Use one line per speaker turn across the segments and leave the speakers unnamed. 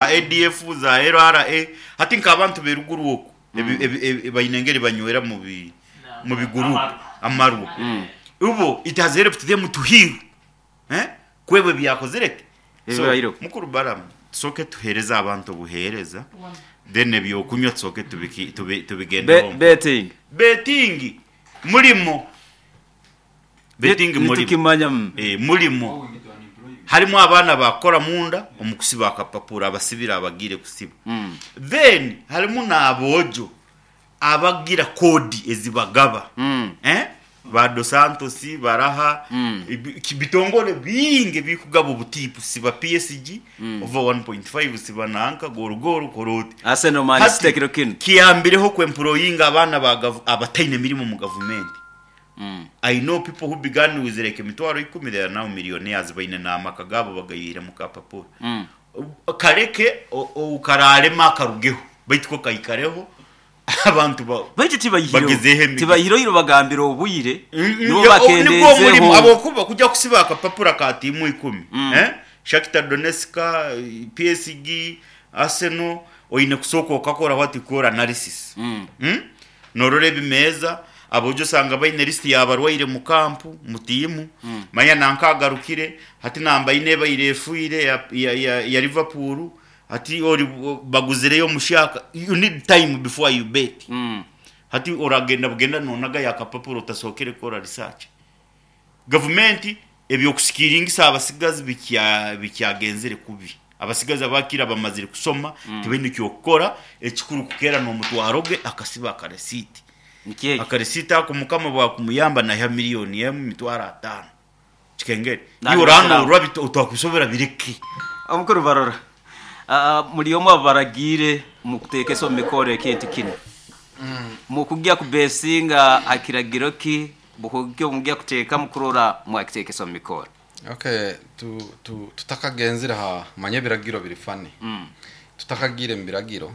ADF, za LRA, hati nk'abantu b'eruguru oku baine engeri banywera mu bi mu biguruupu amarwa. Ibo it has helped them to heal eh kwebwa ebyakozire ki? So
Ebibaireho.
mukuru Balaam tusooke tuheereze abantu obuheereza then eby'okunywa tusooke tubiki tubi tubigendeho mpora.
Betting.
Betting murimo. Betting murimo.
Nitukimanya. Mm.
Eh, murimo. Harimu abaana abakukora munda omu kusiba akapapura abasibire abagiire kusiba. Then harimu n'aboojo abagira koodi ezibagaba. Eh? Ba Dos Santos, baraha, bitongore bingi ebirikugaba obutiipu, siba PSG, over 1.5, siba nanka, goal goal, kora oti.
Arsenal, Man
Hati
City ekiro kinu.
kiyambireho ku employinga abaana ba gavu abataine mirimo omu gavumenti. I know people who began with like emitwaro ikumi they are now millionaires baine n'amaka gaabo bagayiire mu kapapura. Kareke oukaraarema akarugeho baitu ko kaikareho abantu ba
Baitu tibayihireho
bagezeho emigisa.
tibayihireho iro bagambire obwire nibo
Nibwo omurimo
bakendeezeho.
habwokuba kujya kusiba akapapura ka tiimu ikumi eh? Shakhtar Donetsk, PSG, Arsenal oine kusooka okakora what you call analysis. Mm? Norora ebimeeza, aboojo osanga baine list y'abarwaire mu kampu, mu tiimu, manya nanka agarukire, hati namba ina ebaire efiire ya, ya, ya, ya Liverpool, hati ori baguzireyo omushaka, you need time before you bet. Hati oragenda bugenda nonagayo akapapura otasookere kukora research. Gavumenti eby'okusikiringisa abasigazi bikya bikyagenzire kubi. Abasigazi abakira bamazire kusoma tibaine ky'okukora, ekikuru kukeera n'omutwaro gwe akasiba akaresiiti.
Nikyo ekyo.
Akaresiiti ako Mukama bwakumuyamba naiha miriyoni emwe emitwaro ataano. Kikengeri. Iwe
Nalibasiraho.
oranorwa bito otakusobora bireke.
Omukuru Barora, ah, muri omwe abaragiire mukuteekesa omu mikoro ekintu kinu. Mukugya kubesinga ha kiragiro ki bukugya mugya kuteekamu kurora mwakiteekesa omu mikoro?
Okay, tu, tu, tutakagenzire ha manya ebiragiro biri funny. Tutakagiire mu biragiro,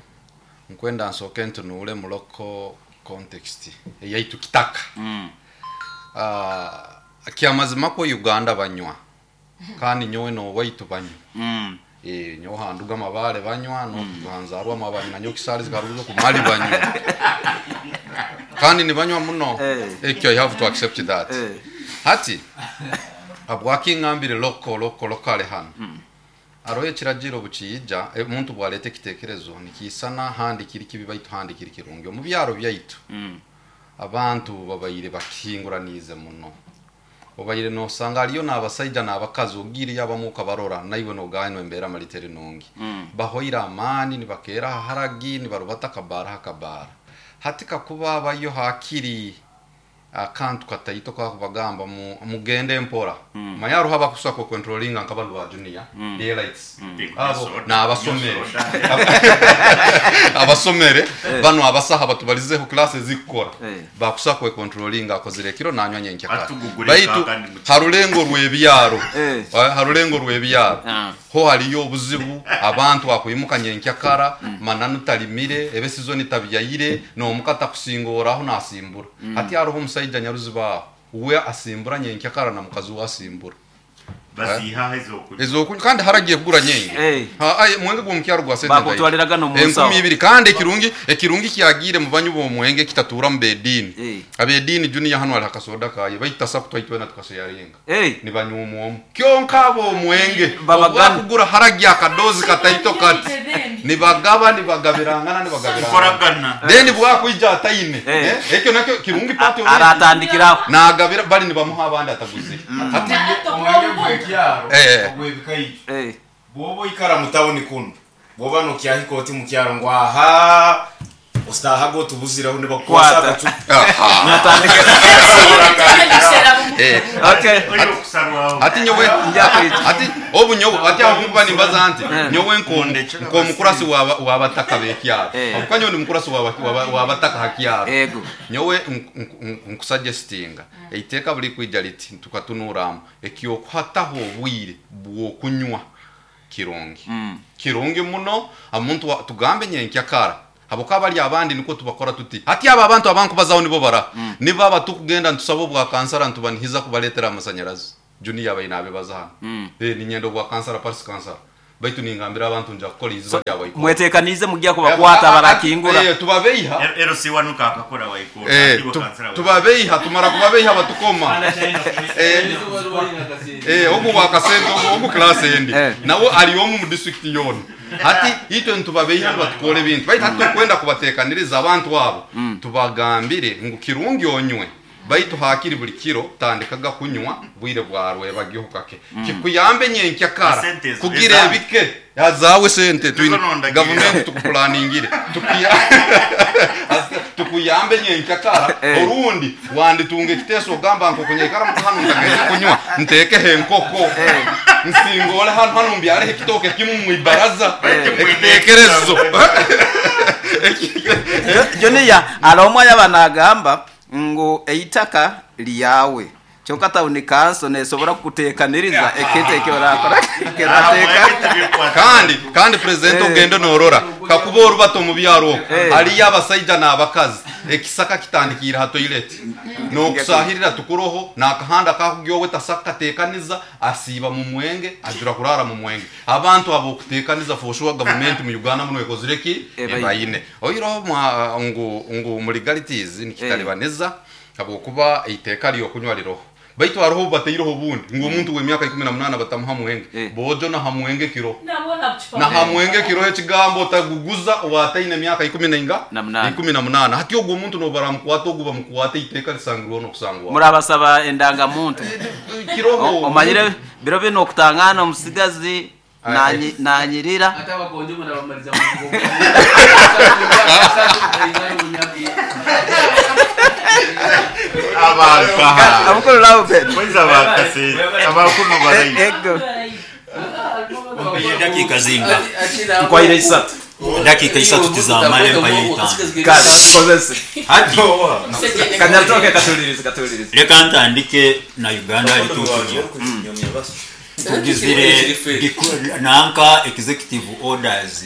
nkwenda nsooke ntunuure mu local context eyaitu kitaka. Ah, kyamazima kwo Uganda banywa kandi nyowe n'owaitu banywa. Eh, nyowe handuga amabare banywa nohanzarwa amabare na nyowe kisari zikaruza kumali banywa kandi nibanywa muno.
Eh.
Ekyo I have to accept that.
Eh.
Hati habwaki ngambire loko loko lokale hano aroho ekiragiro bukiija omuntu bwaleeta ekitekerezo nikiisana handi kiri kibi baitu handi kiri kirungi omu byaro byaitu abantu babaire bakihinguraniize muno obaire nosanga hariyo n'abasaija n'abakazi ogiireyo abamu okabarora naiwe nogaanwa embeera mali teri nungi bahoire amaani nibakeera aha haragi nibarubata akabaara aha kabaara hati kakuba habayo hakiri akantu kataito kakubagamba mugende mpora manya hariho abakusobola kucontrolinga nka banu ba junior daylights abo n'abasomere abasomere banu abasaha batubalizeho class ezikukora
Eh.
bakusobola kwecontrolinga akozire ekiro nanywa nyenkya kare
Atugugure
baitu
kandi mu
harulengo rw'ebyaro
Eh.
Harulengo rw'ebyaro
Ah.
ho hariyo obuzibu abantu bakwimuka nyenkyakara mananu talimire ebe sizoni tabyayire n'omuka takusingoraho nasimbura hati hariho omusaija nyaruziba aho we asimbura nyenkyakara na mukazi we asimbura
Baziihaho ez'okunywa.
Ez'okunywa kandi haragiye kugura nyingi.
Eh.
Ha, ai, mwenge gw'omukyaro gwa sente
Bakutwaliraga n'omu nsaho.
2000 kandi ekirungi ekirungi kyagiire mu banyu b'omwenge kitatuura mu b'ediini.
Eh.
Ab'ediini junior hanu hariho akasoda kaye baitasa kutwaitwena tukasharinga.
Eh.
Nibanywa omwomu. Kyonka ab'omwenge
Babagana.
obwakugura haragi akadozi kataito kati. Nibagaba nibagabirangana nibagabirangana.
Kukoragana.
Then bwakwija ataine.
Eh.
Eh, Ekyo nakyo kirungi part of it.
Aratandikiraho.
Nagabira bali nibamuha abandi ataguzire. Hati
Omwenge gw'ekyaro
Eh.
ogw'ebikaiju
Eh.
bwoba oikara mu tawuni kunu bwoba nokyahika oti mu kyaro ngu aha ositahaga otubuziraho nibakukwasa
Kwata.
akacupa
aha.
Natandika.
Eh.
Okay.
Ori okusarwaho.
Ati nyowe ati obu nyowe ati aho kuba nimbaza nti nyowe nko
Mundekera
nko mukurasi wa wabataka bekyaro
Eh.
abuka nyowe ndi mukurasi wa wabataka hakyaro
Ego.
nyowe nkusuggestinga eiteeka buli kwija liti tukatunuramu ekyokuhataho obwire bw'okunywa kirungi kirungi muno omuntu tugambe nyenkyakara habwokuba bali abandi nikwo tubakora tuti hati abo abantu abankubazaho nibo bara nibo aba tukugenda nitusaba obwa kansara nitubanihiza kubaleetera amasanyarazi junior abaine abebaza hano eh ninyenda obwa kansara parisi kansara. Baitu ningambira abantu nja kukora eiziba rya Waikoro.
Mwetekaniize mugya kubakwata abarakingura.
Eh, tubabeiha.
LC wanu kakakora Waikoro.
Eh,
Akiwa kansela wa-
tubabeiha tumara kubabeiha batukoma. Eh, eh, ogu wakasente ogu ogu class endi.
Eh.
Nawe ari omu mu district yoona. Hati itwe nitubabeiha nibatukora ebintu. Baitu hati tukwenda kubatekaniriza abantu abo. Tubagambire ngu kirungi onywe. Baitu hakiri buli kiro tandikaga kunywa bwire bwa rwebagyeho kake. Kikuyambe nyenkya kara.
Sente ezo,
Kugira
ezange.
ebike. Azawe sente twine
nondagira.
gavumenti tukuplaningire. Tukuya tukuyambe nyenkya kara
Eh.
orundi wanditunga ekiteeso ogamba nkokunyaikara hanu ntagende kunywa nteekeho enkoko nsingole hanu hanu mbyareho ekitooke kimu mwibaraza ekiteekerezo
Junior hariho ayaba nagamba ngu eitaka lyawe kyonka tawuni kanso nesobora kukutekaniriza ekintu eki orakora
Ah,
kirateeka
mwebwe tibikwata.
kandi kandi president
Eh.
ogende norora kakuba orubato omu byaro okwo
Eh.
hariyo abasaija n'abakazi ekisaka kitandikiire ha toilet n'okusahirira tukuroho n'akahanda kakugyowe tasaka kateekaniza asiiba mu mwenge ajura kurara mu mwenge abantu abo okuteekaniza for sure gavumenti mu Uganda muno ekozire ki
Ebaine.
ebaine oiroho mwa ngu ngu mu legalities nikitalibaniza habwokuba eiteeka ryokunywa riroho baitu hariho obu bataireho obundi ngu omuntu w'emyaka 18 batamuha mwenge
Eh.
bojo naha mwenge kiroho
Nabona bucupa.
na hamwenge kiroho ekigambo otaguguza owataine emyaka ikumi nainga
Na munana.
18 hati ogwo omuntu nobaramukwata ogwo bamukwata eiteeka risangirweho n'okusangwa
murabasaba endangamuntu
kiroho
omanyire biro bino okutangana omusigazi
Aye.
nanyirira
Ate abakonjo murabamaliza mu
Abakaha.
abukuru lawben
Mwenza bakase. Abakuno barayi.
ego
Dakika zinga
nkwaire isatu
dakika isatu tizamara empaye itaano
kale tukozese
hati
kanyatoke katulirize katulirize
reka ntandike na uganda alituukirya tugizire nanka executive orders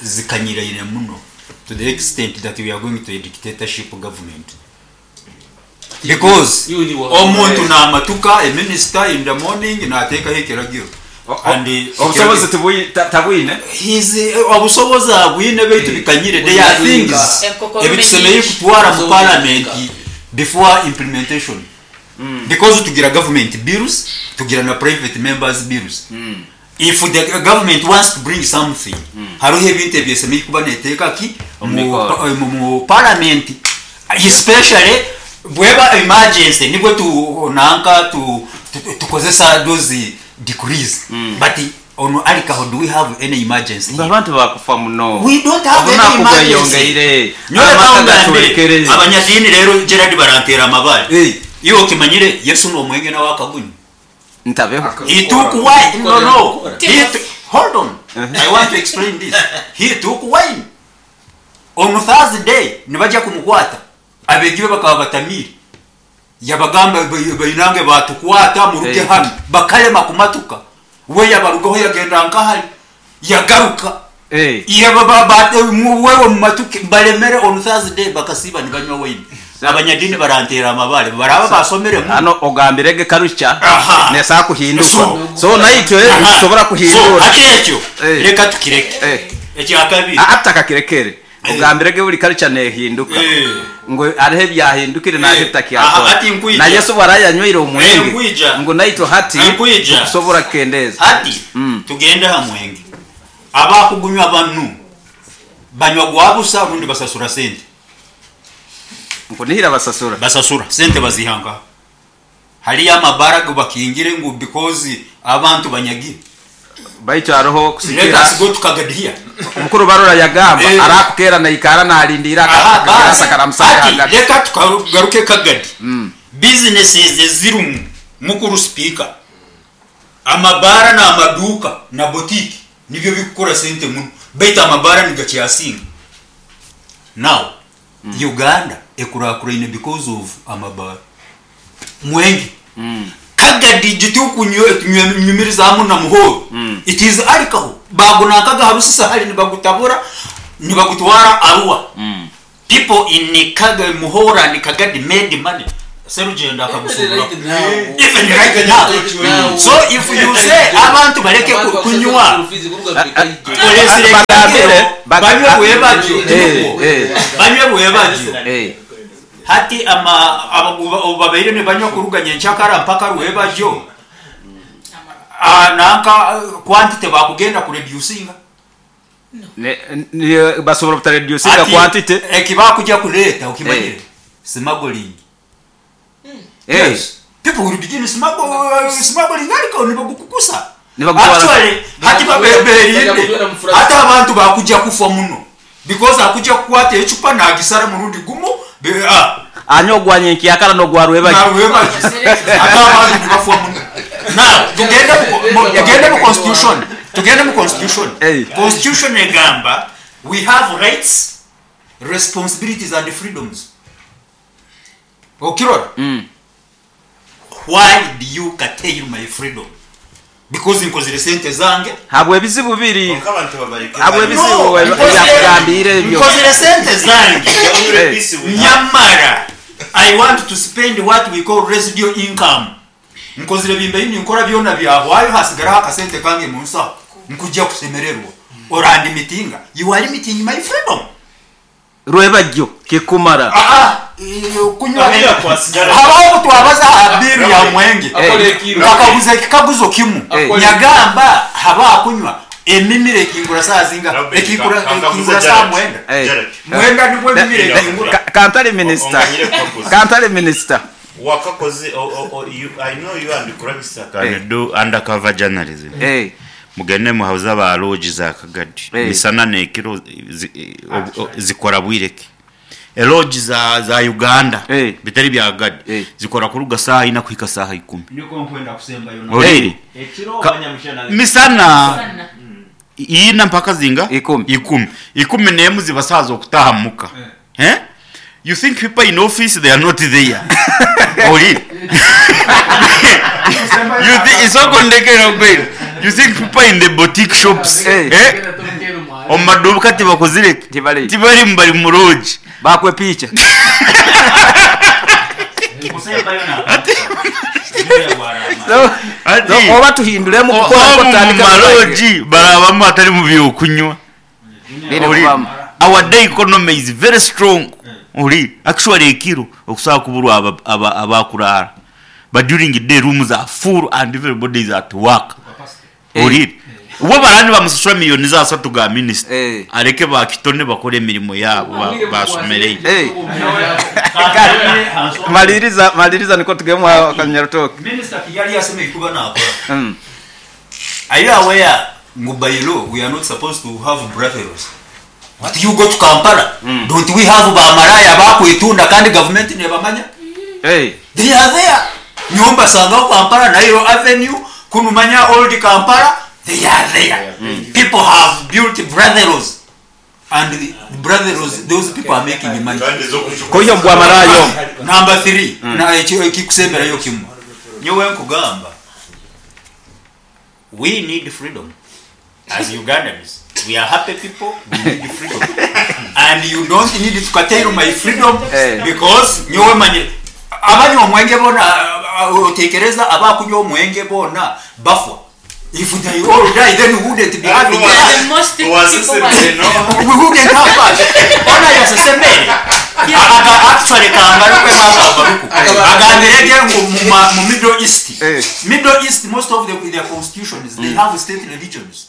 zikanyiraine muno to the extent that we are going to a dictatorship government because omuntu namatuka a minister in the morning nateekaho ekiragiro And,
obusobozi tabwine
His, obusobozi abwine baitu bikanyire there are things
Enkoko
ebitusemeye
nyingi.
kutwara mu parliament before implementation because tugira government bills tugira na private members bills if the government wants to bring something hariho ebintu ebyesemeye kuba neteeka ki mu
Mumikoro.
mu parliament especially bweba emergency nibwo tu nanka tu tukozesa those decrees but on alcohol do we have any emergency
Nga abantu bakufa muno
We don't have any
Obunaku
emergency.
bweyongeire
Nyowe
amaka
kangambire,
gatwekereze
abanyadiini rero gerard barantera amabare
Eh.
iwe okimanyire yesu nomwenge nawe akagunywa
ntabeho
He took wine. No, no. He hold on. I want to explain this. He took wine. On Thursday, nibajja kumukwata. Abeegi be bakaba batamiire. Yabagamba bainange batukwata muruge
Eh.
hano. Bakalema kumatuka. We yabarugaho yagenda nkahali. Yagaruka.
Eh.
Wewe mumatuke balemere on Thursday bakasiba nibanywa wine. Abanyadini barantera amabare. Baraba basomere mu.
hano ogambirege karucha
Aha.
nesa kuhinduka
So-
so naitwe
Aha.
tusobora
So,
kuhindura
hati ekyo
Eh.
reka tukireke
Eh.
ekyakabiri
atakakirekere ogambirege buli karucha nehinduka
Eh.
ngo hariho ebyahindukire naje
Eh. Aha,
tutakyakora
hati nkwija.
na yesu bwarayanywire
Eh,
omwenge
nkwija.
ngo naitwe hati
Eh, nkwija.
tukusobora kukendeza
hati tugende ha mwenge abakugunywa banu banywa gwa busa rundi basasura sente
nkunihira basasura
basasura sente bazihanga haliyo amabara go bakingire ngu because abantu banyagire
baitu hariho
let
kusikira
us go to kagadiya
omukuru barora yagamba
Eh.
arakukera naikara nalindira
Aha, basi.
akagarasa karamusanga
Hati,
hagati
reka tugaruke kagadi businesses ezirimu mukuru speaker amabara n'amaduuka na botiki nibyo bikukora sente muno baitu amabara nigakyasinga now uganda ekurakuraine because of amabara mwenge kagadi gitukunyumirizamu na muhoro it is alcohol bagunakaga harusisa hali nibagutabura nibagutwara arua people in Kaga, Muhora and Kagadi made money. Serugendo akagusuuburaho even right now. So if you say abantu bareke kunywa oresire
Bagambire,
ekiragiro banywe bwebagyo
Eh, eh.
banywe bwebagyo
Eh.
hati ama obu babaire nibanywa kuruga nyenkyakara mpaka rwebagyo nanka quantity bakugenda kureducinga.
Basobora butareducinga
Ati,
quantity.
Eki bakujya kureeta okimanyire
Eh.
smuggling.
Eh.
Yes. People will begin smuggling alcohol nibagukukusa.
Nibagutwara-
Actually, hati babeberinde. Hati abantu bakujja kufa muno. Because akujja kukwata ecupa nagisara murundi gumu
Anywa ogwa nyenkyakara n'ogwa rwebagyo.
narwebagyo. Ate abantu nibafa muno. Now, tugende mu constitution. Tugende mu constitution.
Hey.
Constitution egamba we have rights, responsibilities and freedoms. Okirora? Why do you curtail my freedom? Because nkozire sente zange.
Habwe ebizibu biri.
Konka abantu babareke.
Habwe ebizibu
No,
ebyakugambire ebyo.
Nkozire sente zange.
Eh.
Nyamara I want to spend what we call residual income. Nkozire bimbe ninkora byona byahwayo hasigaraho akasente kange mu nsaho. Nkujja kusemererwa. Orandi mitinga. You are limiting my freedom.
Rwebagyo kikumara.
Kunywa
Abira kwasigara.
habaho twabaza aha biru ya mwenge.
Eh.
Nkakaguza ekikaguzo kimu.
Eh.
Nyagamba haba kunywa emimire ekingura saa zinga
Robert,
ekingura
kankaguza
ekingura saa
Jared.
mwenda.
Eh.
Jared,
Mwenda nibwo emimire ekingura.
Kantale minister.
Onganyire kukaguza.
Kantale minister.
Wakakoze you, I know you and Kurabisa can
Eh.
do undercover journalism.
Eh.
Mugende muhauza ba lodge za Kagadi.
Eh.
Misana nekiro zikora bwireke. Elodge za Uganda
Eh.
bitari bya Kagadi
Eh.
zikora kuruga saha ina kuhika saha 10.
Niko nkwenda kusembayo na.
Oriri.
Ekiro
Misana ina mpaka zinga
Ikumi.
ikumi ikumi nemu zibasaza okutaha muka. Eh? You think people in office they are not there. Ori. You think it's all kondekera kweli. You think people in the boutique shops.
Eh.
Eh? Omaduka tibakozire.
Tibali.
Tibali mbali mu lodge.
Bakwe picha.
Kusembayo na.
So,
Ati
so oba tuhinduremu kukora
omu mu
kutandika
maloji barabamu atari mu byokunywa.
Biri
Ori.
kubamu.
Our day economy is very strong. Ori. Actually ekiro okusobola kuburwa abakurara. But during the day rooms are full and everybody is at work. Ori. Ubo barani bamusasura miliyoni za 3 ga minister.
Eh.
Areke bakitone bakore emirimo yabo basomereye.
Eh. Maliriza maliriza niko tugemwa Kanyarutoke.
Minister Kigali yasema ikuba nakora. Are you aware ngu by law we are not supposed to have brothels? But you go to Kampala. Don't we have bamaraya bakwitunda kandi government nebamanya?
Eh.
They are there. Nyumba sanga Kampala Nairo Avenue kunumanya old Kampala they are there. People have built brothels and the brothels those people are making money.
Koyo mbwa marayo.
Number 3 na ekyo ekikusemberayo kimu. Nyowe nkugamba we need freedom as Ugandans. We are happy people, we need freedom. And you don't need to curtail my freedom
Eh.
because nyowe manye abanywa omwenge bona otekereza abakunywa omwenge bona bafwa. If they all die then we wouldn't be having
Well,
us.
The most
Was
people are-
We wouldn't have us. Ona yasesemere. Aga actually kangaruke nk'akabaruku. Agambire ge ngu mu Middle East.
Eh.
Middle East most of their constitutions they have state religions.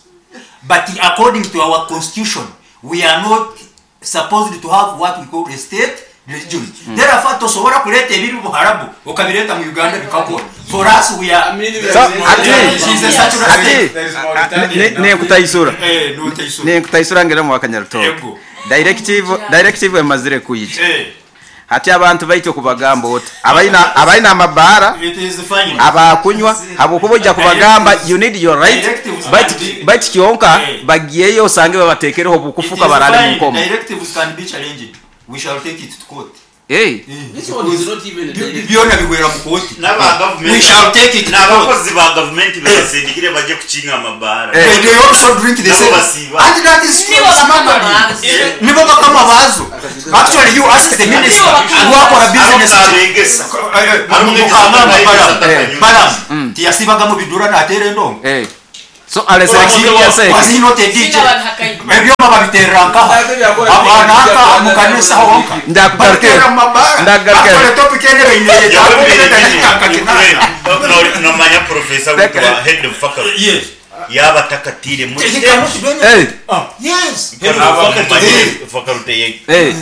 But according to our constitution we are not supposed to have what we call a state religion. Therefore tosobora kuleta ebiri Buharabu okabireta mu Uganda bikakora. For us we are
So, ati
She's a secular
ati
state.
There is Mauritania.
nekutaisura.
Eh, n'otaisura.
Nekutaisura ngera mu Kanyarutoke.
Ego.
Directive emazire kuyija.
Eh,
Hati abantu baito kubagamba oti abaina amabara
it is fine.
abakunywa habwokuba ojja kubagamba you need your right
Directives
but
can be-
but kyonka
Eh.
bagiyeyo osange babatekereho
It
obukufuka
is
barale mu
fine.
nkomo.
Directives can be challenged. We shall take it to court.
Eh.
This one is not even a directive.
Byona bigwera mu kooti.
N'aba government.
We shall take it to court.
N'abakozi ba government basindikire bajye kukinga amabara.
Eh.
They also drink the
Nabo
same.
basiiba.
And that is
Nibo bakama
smuggling. Nibo bakama baazo. Actually you ask the minister wakora business ki? Mukangamba Balaam. Balaam tiyasiibaga mu bidura naateera endongo?
So alesire experience egi.
Was he not a DJ? Ebyoma babiteerera nkaha? Nanka omu kanisa honka? Babiteerera mu mabaara? Actually topic egi ebaine eyetaaga omu edakiika nka kinaana.
Nomanya professor waitu wa head of faculty yaaba atakatiire muri
He cannot do anything. Yes.
Head of faculty faculty yaitu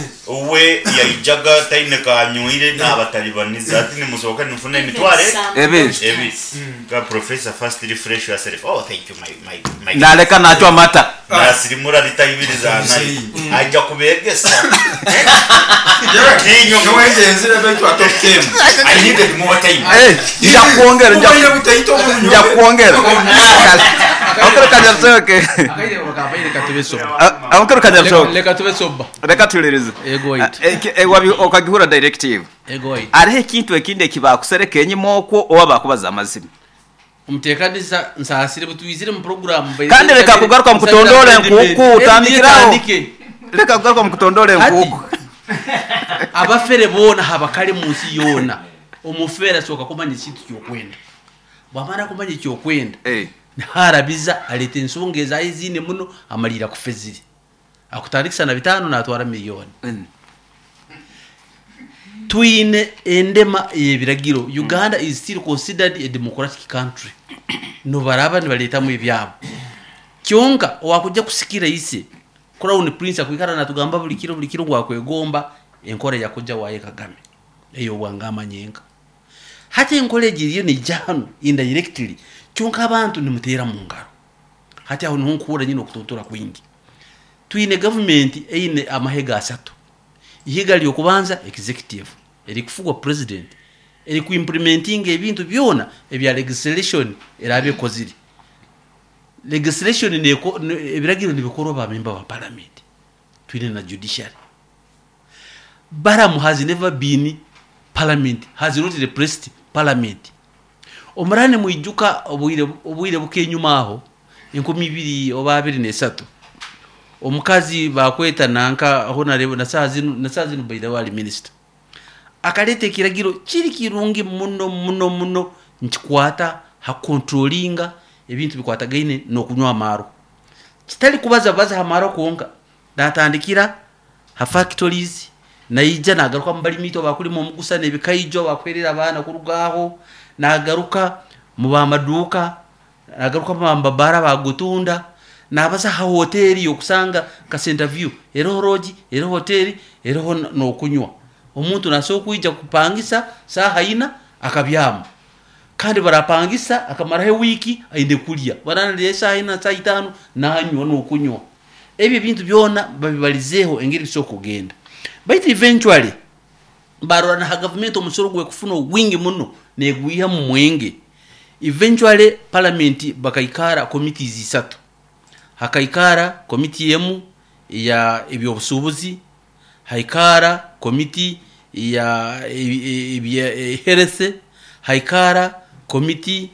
we yaijaga taine kaanywire naabataribaniza ati nimusohoka nimufuna emitwaro
Ebiri.
ebiri ka professor first refresh yourself oh thank you my my my
Naleka nachwa amata.
nasirimura lita ibiri za nayo aija kubegesa
Nyowe ngyenzire baitu ate obuteemu. I needed more time.
Eh, nja kwongera nja
Obubaire butaito obu
nja kwongera. Amakuru kanyarushoke.
Akaire bakabaire katube soba.
Amakuru kanyarushoke.
Leka tube soba.
Reka tuhuririze.
Ego waitu.
Okagihura directive.
Ego waitu.
Hariho ekintu ekindi eki baakusereka enyima okwo oba baakubaza amazima.
Omuteekanisa nsaasire butwizire mu puroguramu.
Kandi reka kugaruka mu kutondoora enkuuku otandikiraho. Reka kugaruka mu kutondoora enkuuku.
Abafere boona habakare mu nsi yoona. Omufere asooka kumanya ekintu ky'okwenda. Bwamara kumanya ekyokwenda, harabiza aleeta ensonga ezaye eziine muno amaliira akufezire. Akutandikisa na bitaano natwara miliyoni. Twine endema ey'ebiragiro. Uganda is still considered a democratic country. Nobaraba nibareetamu ebyabo. Kyonka owakujja kusikira ise Crown Prince akwikara natugamba buli kiro buli kiro ngu akwegomba enkora ya kojja waye Kagame ey'obwangama nyenka. Hati enkora egi eriyo neija hanu indirectly kyonka abantu nimuteera mu ngaro. Hati aho niho nkuhurra nyine okutuntura kwingi. Twine gavumenti eine amahega asatu. Ihiga ry'okubanza executive erikufugwa president erikuimplementinga ebintu byona ebya legislation eraabe ekozire. Legislation neko, ebiragiro nibikorwa ba member ba parliament. Twine na judiciary. Balaam has never been parliament, has not replaced parliament. Omuraba nimwijuka obwire obwire bukye enyuma aho 2000 oba 23 omukazi bakweta nanka honarebo na saa zinu na saa zinu by the way ali minister akaleta ekiragiro kiri kirungi muno muno muno nikikwata ha controllinga ebintu bikwatagaine n'okunywa amaarwa. Kitari kubaza bubaza ha maarwa kwonka, naatandikira ha factories, naija naagaruka omu barimi itwe abakurima omugusa n'ebikaijo abakuheerera abaana kuruga aho, naagaruka mu b'amaduuka, naagaruka omu b'amabaara abakugutunda, naabaza ha hoteeri okusanga nka Centre View eriho lodge, eriho hoteeri, eriho n'okunywa. Omuntu naasobola kwija kupangisa saaha ina akabyama. Kandi barapangisa akamaraho ewiiki aine kurya. Bararya eshaaha ina, shaaha itaano nanywa n'okunywa. Ebyo ebintu byona babibarizeeho engeri bisobola kugenda. Baitu eventually barora na ha gavumenti omusoro ogwekufuna ogwingi muno negwiha omu mwenge. Eventually paramenti bakaikara committees isatu. Hakaikara committee emu eya eby'obusuubuzi, haikaara komiti ya ebya health, haikaara komiti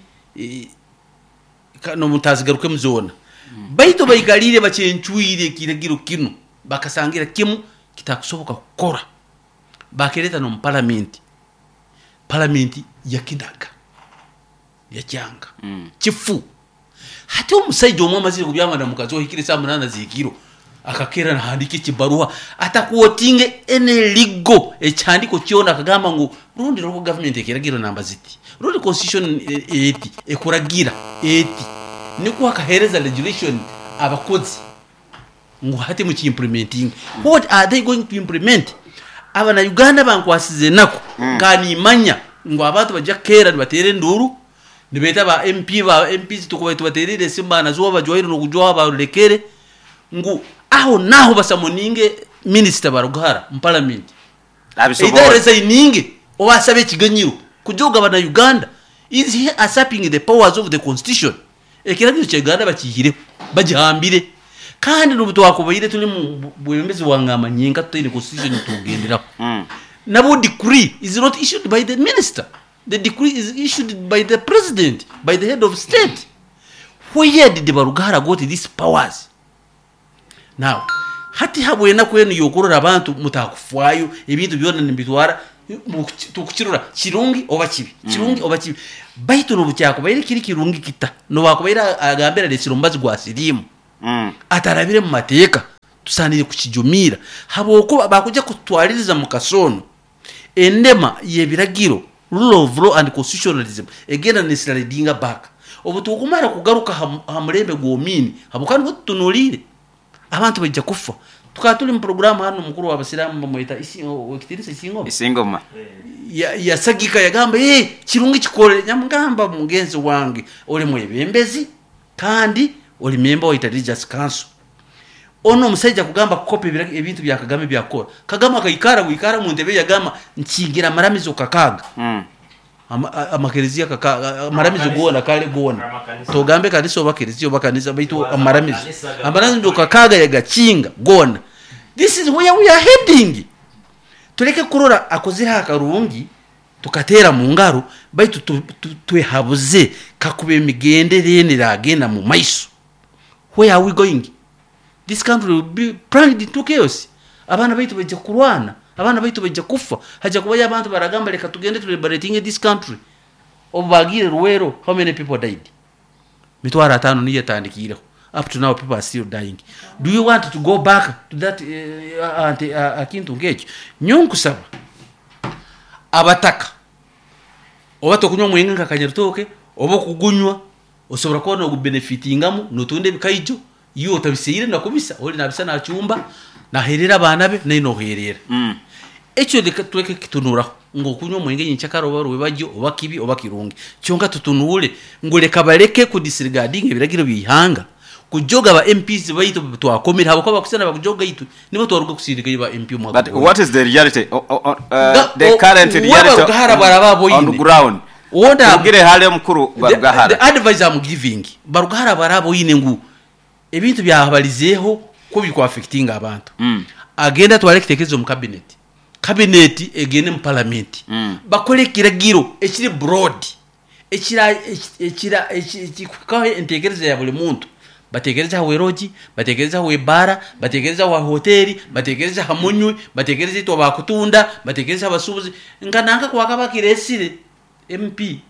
n'obu ntazigarukemu zoona. Baitu baikaliire bakyencwire ekiragiro kinu bakasangira kimu kitakusoboka kukora. Bakireeta n'omu paramenti, paramenti yakinaga, yakyanga. Kifu. Hati omusaija omwe amazire kubyama na mukazi we ohikire esaaha munaana z'ekiro, akakeera nahandiika ekibaruha atakwotinge any legal ekihandiiko kyona akagamba ngu rundi local government ekeragira namba ziti, rundi constitution eti ekuragira eti, nikwo akaheereza regulation abakozi ngu hati muki-implementinge. What are they going to implement? Abana Uganda bankwasize enaku nka nimanya ngu abantu baija kukeera nibateera enduuru nibeeta ba MP ba MPs tukubaire tubateereire esimu baanajwaho bajwaire n'okujwaho barurekere ngu aho n'aho basamoninge minisita Barugahara omu paramenti either
Abisoboore.
aresigninge oba ashabe ekiganyiro kujoga bana Uganda. Is he usurping the powers of the constitution? Ekiragiro kya Uganda bakiihireho, bagihambire. Kandi n'obu twakubaire turi omu bwebembezi bwa ngamba nyenka tutaine constitution tukugenderaho. Nabwo decree is not issued by the minister. The decree is issued by the president, by the head of state. Where did Barugahara got these powers? Now, Hati habw'enaku enu y'okurora abantu mutakufwayo, ebintu byona nibitwara tukukirora kirungi oba kibi, kirungi oba kibi. Baitu n'obu kyakubaire kiri kirungi kita, n'obu akubaire agambire areetsire omubazi gwa siriimu atarabire mu mateeka, tusaaniire kukijumiira habwokuba bakuija kututwaririza mu kasoono. Endema y'ebiragiro, rule of law and constitutionalism, egenda neslidinga back. Obu tukumara kugaruka ha mulembe gw'Omini, habwokuba nubwo tutunuliire, abantu baija kufa. Tukaba tuli mu puroguraamu hanu omukuru w'abasiraamu bamweta Owekitiinisa Isingoma.
Isingoma.
Yasagika yagamba, Ee, kirungi kikole. Nyamugamba, mugenzi wange, oli mwebembezi kandi oli memba wa Interreligious Council. Onu omusaija kugamba kukopa ebintu bya Kagame ebyakukora. Kagame akaikara bwikara omu ntebe ye yagamba nkingire amaramizo kakaaga. Amakereziya kakaaga, amaramizo goona kare goona. Togambe kanisa oba kereziya oba kanisa baitu amaramizo. Amaramizo kakaaga yagakinga goona. This is where we are heading. Tuleke kurora akozire akarungi tukateera mu ngaro baitu twehabuze kakuba emigendere enu eragenda mu maiso. Where are we going? This country will be plunged into chaos. Abaana baitu baija kurwana, abaana baitu baija kufa, haija kubayo abantu baragamba leka tugende tu liberatinge this country. Obu bagiire Luweero, how many people died? Mitwaro ataano niyo etandikiireho. Up to now people are still dying. Do you want to go back to that akintu nk'ekyo? Nyowe nkusaba abataka oba tokunywa omwenge nka kanyarutooke oba okugunywa Osobora kuba nogubenefitingamu notunda ebikaijo, iwe otabiseire nakubisa, ori nabisa nacumba, naherera abaana be, naiwe noherera. Ekyo leka tuleke kukitunuraho ngu okunywa omwenge nyenkyakara oba rwebagyo oba kibi oba kirungi. Kyonka tutunuure ngu leka baleke ku disregardinga ebiragiro by'eihanga, kujoga ba MPs baitu abu twakomire habwokuba bakusana bakujoga itwe, nibo twaruga kusindikayo ba MP omwaka
But
guhoire.
what is the reality,
Ga-
the
o-
current
we
reality
Barugahara bwaraba
on
aboine.
ground?
Wona
Turugire hare omukuru Barugahara.
The advice I'm giving Barugahara bwaraba oine ngu ebintu byabarizeeho ku biri ku affectinga abantu agende atware ekitekerezo omu cabinet, cabinet egende mu parliament bakore ekiragiro ekiri broad ekira ekira ekirikuhikaho entekereza ya buri muntu. Batekereze aha werogi, batekereze aha w'ebaara, batekereze aha wa hoteeri, batekereze aha munywi, batekereze itwe abakutunda, batekereze aha basuubuzi. Nka nanka ku akaba akireesire MP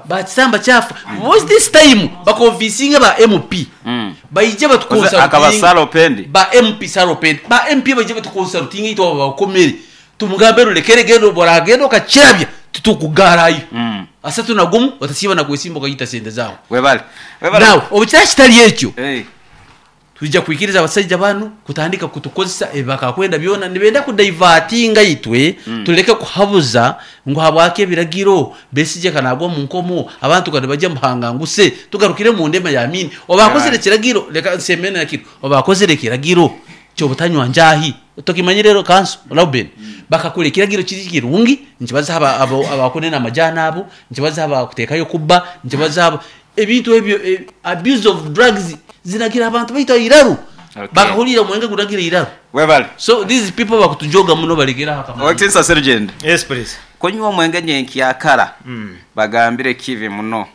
bakisamba kyafa. Was this time bakonvinsinge ba MP baije
Oze akaba
batukonsalutinge.
Sarah Opendi.
Ba MP Sarah Opendi. Ba MP baije batukonsalutinge itwe abo abakomere. Tumugambe rurekere genda obu oragenda okakirabya titukugaarayo. Asatu na gumu otasiiba na kwesimba okaita sente zaawe.
Webale. Webale.
Now obu kiraba kitari ekyo,
Hey.
twija kwikiriza abasaija banu kutandika kutukozesa ebi bakakwenda byona. Nibenda kudaivatinga itwe tuleke kuhabuza ngu habwaki ebiragiro, Besigye ka nagwa omu nkomo, abantu ka nibaija muhanganguse, tugarukire omu ndema ya Amin. Obu akozire ekiragiro, leka nsembe na kinu, obu akozire ekiragiro ky'obutanywa njaahi, tokimanyire ero kanso, Reuben? Bakakora ekiragiro kiri kirungi, nikibaza aba abo abakunena amajaani abo, nikibaza abakuteekayo kubba, nikibaza abo, ebintu ebyo, abuse of drugs zinagira abantu baitu aha iraru.
Okay.
Bakahurira omwenge gunagira eiraru.
Webale.
So these people bakutujoga muno barekere aho akamanyiro.
Owekitinisa Serugendo.
Yes please.
Kunywa omwenge nyenkyakara bagambire kibi muno.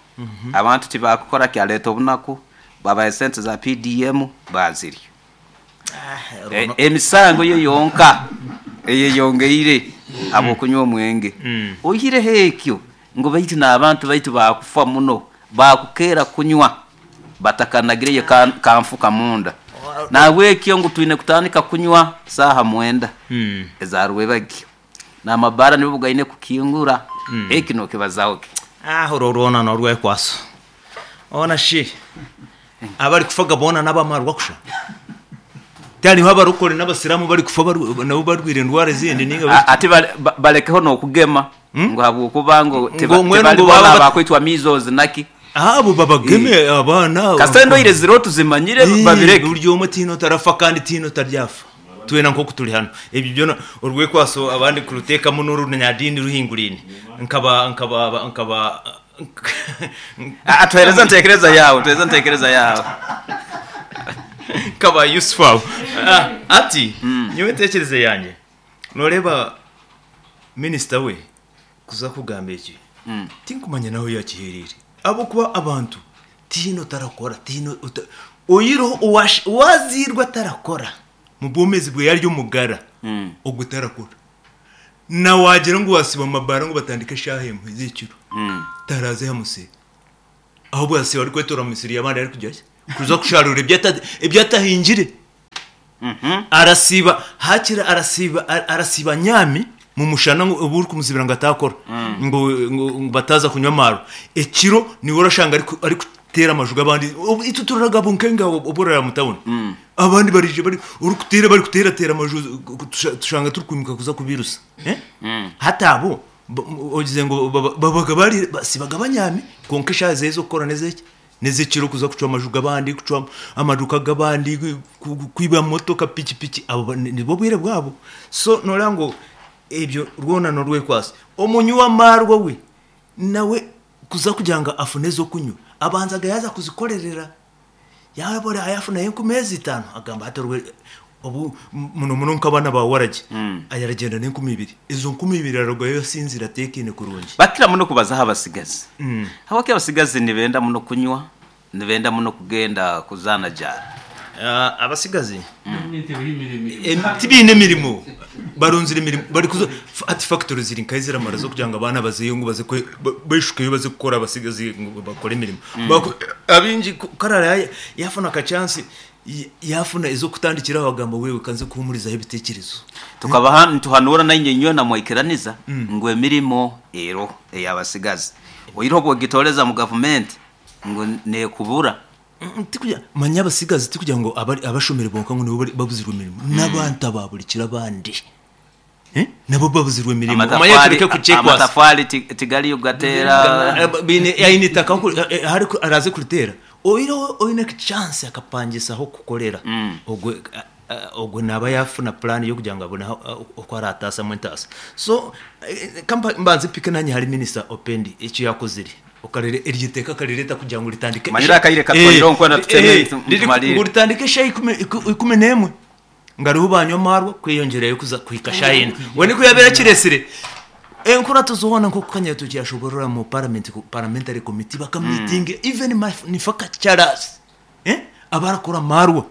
Abantu tibakukora kyaleta obunaku, babaha esente za PDM bazirya. Emisango yo yonka eyeyongeire habw'okunywa omwenge. Oihireho ekyo ngu baitu n'abantu baitu baakufa muno, baakukeera kunywa batakanagireyo kanfuka munda. Nahabwekyo ngu twine kutandika kunywa saaha mwenda eza rwebagyo. N'amabaara nibo gaine kukingura. Eki nokibazaho ki?
Orwo rwona n'orwekwaso. Hoona shi abarikufa ga boona n'abamarwa kusha? Tihariho abarokore n'abasiraamu abarikufa nabo barwaire endwara ezindi nainga biki?
Ati barekeho n'okugema ngu ahabw'okuba ngu
Ngu
tibari
mbwenu ngu
boona
baaba
abakwitwa measles naki.
Abo babageme abaana.
Kasita endwaire ziriho tuzimanyire babireke.
Buri omwe tihaine otarafa kandi tihaine otaryafa. Twena nk'oku turi hanu. Ebyo byona orwekwaso abandi kuruteekamu n'orunyadiini ruhinguraine. Nkaba nkaba nkaba
Ah, tuhereze entekereza yawe, tuhereze entekereza yawe.
Nkaba Yusufu aho. Ah, ati nyowe entekereza yangye noreeba minisita we kuza kugamba eki tinkumanya nahu yakihereire ahabw'okuba abantu tihaine otarakora tihaine ota. Oihireho owazairwe atarakora mu bwomeezi bwe ari omugara, ogwo tarakora. Na waagira ngu waasiiba omu mabaara ngu batandike eshaaha emwe z'ekiro, taraaze aha musiri. Ahabwe asiiba arikwetoora omu misiri y'abandi arikugira ki? Kuza kusharuura ebi atahingire. Arasiiba haakiri arasiiba arasiiba anyaami mu mushana ngu obu orikumuzibira ngu ataakora ngu ngu bataaza kunywa amaarwa. Ekiro niiwe orashanga arikuteera amaju g'abandi. Itwe turaraga bunkenke aho obu oraraara mu tawuni. Abandi baraija bari orikuteera barikuteerateera amaju tushanga turikwimuka kuza kubiirusa. Hati abo ogize ngu babaga bari basiibaga banyaami kwonka eshaaha ze ez'okukora n'ez'eki? N'ez'ekiro kuza kucwa amaju g'abandi, kucwa amaduuka g'abandi, kwiba motoka, pikipiki, abo nibwo bwire bwabo. So nooreeba ngu ebyo rwona n'orwekwatso. Omunywi w'amaarwa we, nawe kuza kugira ngu afune ez'okunywa, abanza yaaza kuzikorerera. Yaaba yaafunayo enkumi ezi itaano, agamba hati orwe obu muno muno nk'abaana ba waragi, aragyenda n'enkumi ibiri. Ezo nkumi ibiri ararugayo asinziire ateekaine kurungi.
Bakira muno kubazaho abasigazi. Habwaki abasigazi nibenda muno kunywa, nibenda muno kugenda kuzaana jaara?
Abasigazi tibaine mirimo, barunzire emirimo barikuza hati fakitori ziri nkahi ziramara z'okugira ngu abaana bazeyo ngu baze beshukeyo baze kukora abasigazi ngu bakore emirimo. Abaingi ku araabe yaafuna akachansi yaafuna ez'okutandikiraho agamba wewe ka nze kuhuumurizaho ebiteekyerezo.
Tukabaha nituhanuura nainye nywena mwaikiraniza ngu emirimo eroho ey'abasigazi. Oihireho obu ogitooreza mu gavumenti ngu neekubura.
Tikugira, manya abasigazi tikugira ngu abashomire bonka ngu nibo babuzirwe emirimo, n'abantu aba buri kiro abandi nabo babuzirwe emirimo. Omanye tureke kukyekwasa.
Amatafaari tigariyo kugateera.
Baine aine eitaka ahu araaze kuriteera, oihireho oine chance akapangisa ah'okukorera, ogwo Ogwo naaba yaafuna puraani y'okugira ngu abone oku araataasamu entaasa. So ka mbanze mpike naanye ahari minisita Opendi eki yaakozire, okareba eryo iteeka akarireeta kugira ngu ritandike
Manyire akaire katwaireho nkwenda tuteme tumalire.
Ngu ritandike eshaaha 11 ngu hariho baanywa amaarwa kweyongyerayo kuza kuhika shaaha ina. Mbwenu ku yaabaire akireetsire, enkurato zoona nk'oku Kanyaritookye yaashoboorora omu paramenti, parliamentary committee bakamiitinga even manufacturers abarakora amaarwa.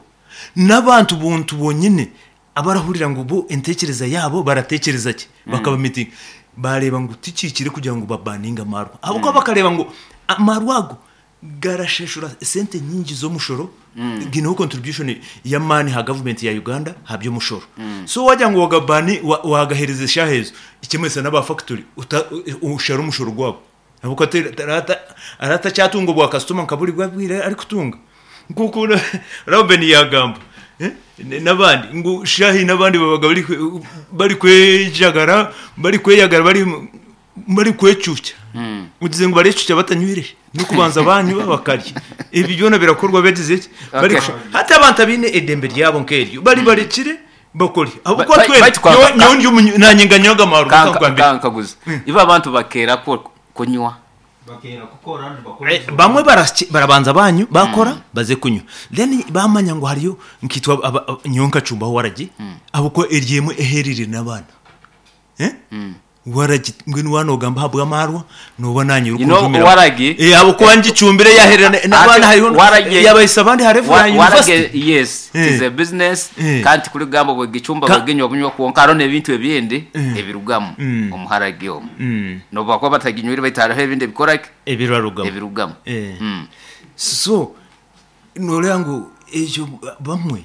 N'abantu buntu bonyine abarahurira ngu bo entekereza yaabo baratekereza gye bakaba mitingi bareeba ngu tikihikire kugira ngu babaninge amaarwa ahabw'okuba bakareeba ngu amaarwa ago garashashura esente nyingi z'omushoro gaineho contribution y'amaani aha gavumenti ya Uganda aha by'omushoro so wagira ngu wagabani wagahereza eshaaha ezo ekimanyisa n'aba fakitori oshare omushoro gwabo. Ahabw'okuba araba atakyatunga obwa kasitoma nka buri bwire arikutunga. Nk'oku Reuben yaagamba n'abandi ngu shaaha haine abandi babaga barikwejagara, barikweyagara, barikwecuukya. Ogize ngu barecuukya batanywire, n'okubanza baanywa bakarya. Ebi byona birakorwa bagize ki? Hati abantu abaine eidembe ryabo nk'eryo baribarekire bakore. Ahabw'okuba
Ba-
twena,
baitu kwa-
nyowe nyowe ndi omunyu naanye nganywa aga maarwa
Kanka-
nkakugambira.
Kankaguze, ibo abantu bakeera ku- kunywa?
Bakeera kukora nibakora
Eh,
ezo.
bamwe baraki- barabanza banywa bakora baze kunywa then bamanya ngu hariyo nkaitwe aba- aba- nyowe nkacumbaho waragi ahabw'okuba eri emwe eherire n'abaana Eh? Waragi mbwenu waaba noogamba ahabw'amaarwa nooba naanye
You know,
orikunjumiraho.
waragi-
Eh, ahabw'okuba ngicumbire yaherera n'abaana hariho
Waragi-
yabahisya abandi ha level ya
Waragi,
university.
yes, it is
Eh.
a business
Eh.
kandi tikurigamba bwegicumba
Ka-
bweginywa bunywa kwonka hariho n'ebintu ebindi ebirugamu omu haragi omu. N'obu bakuba bataginywire baitu hariho ebindi ebikora ki?
Ebirarugamu.
Ebirugamu.
Eh. So nooreeba ngu ekyo bamwe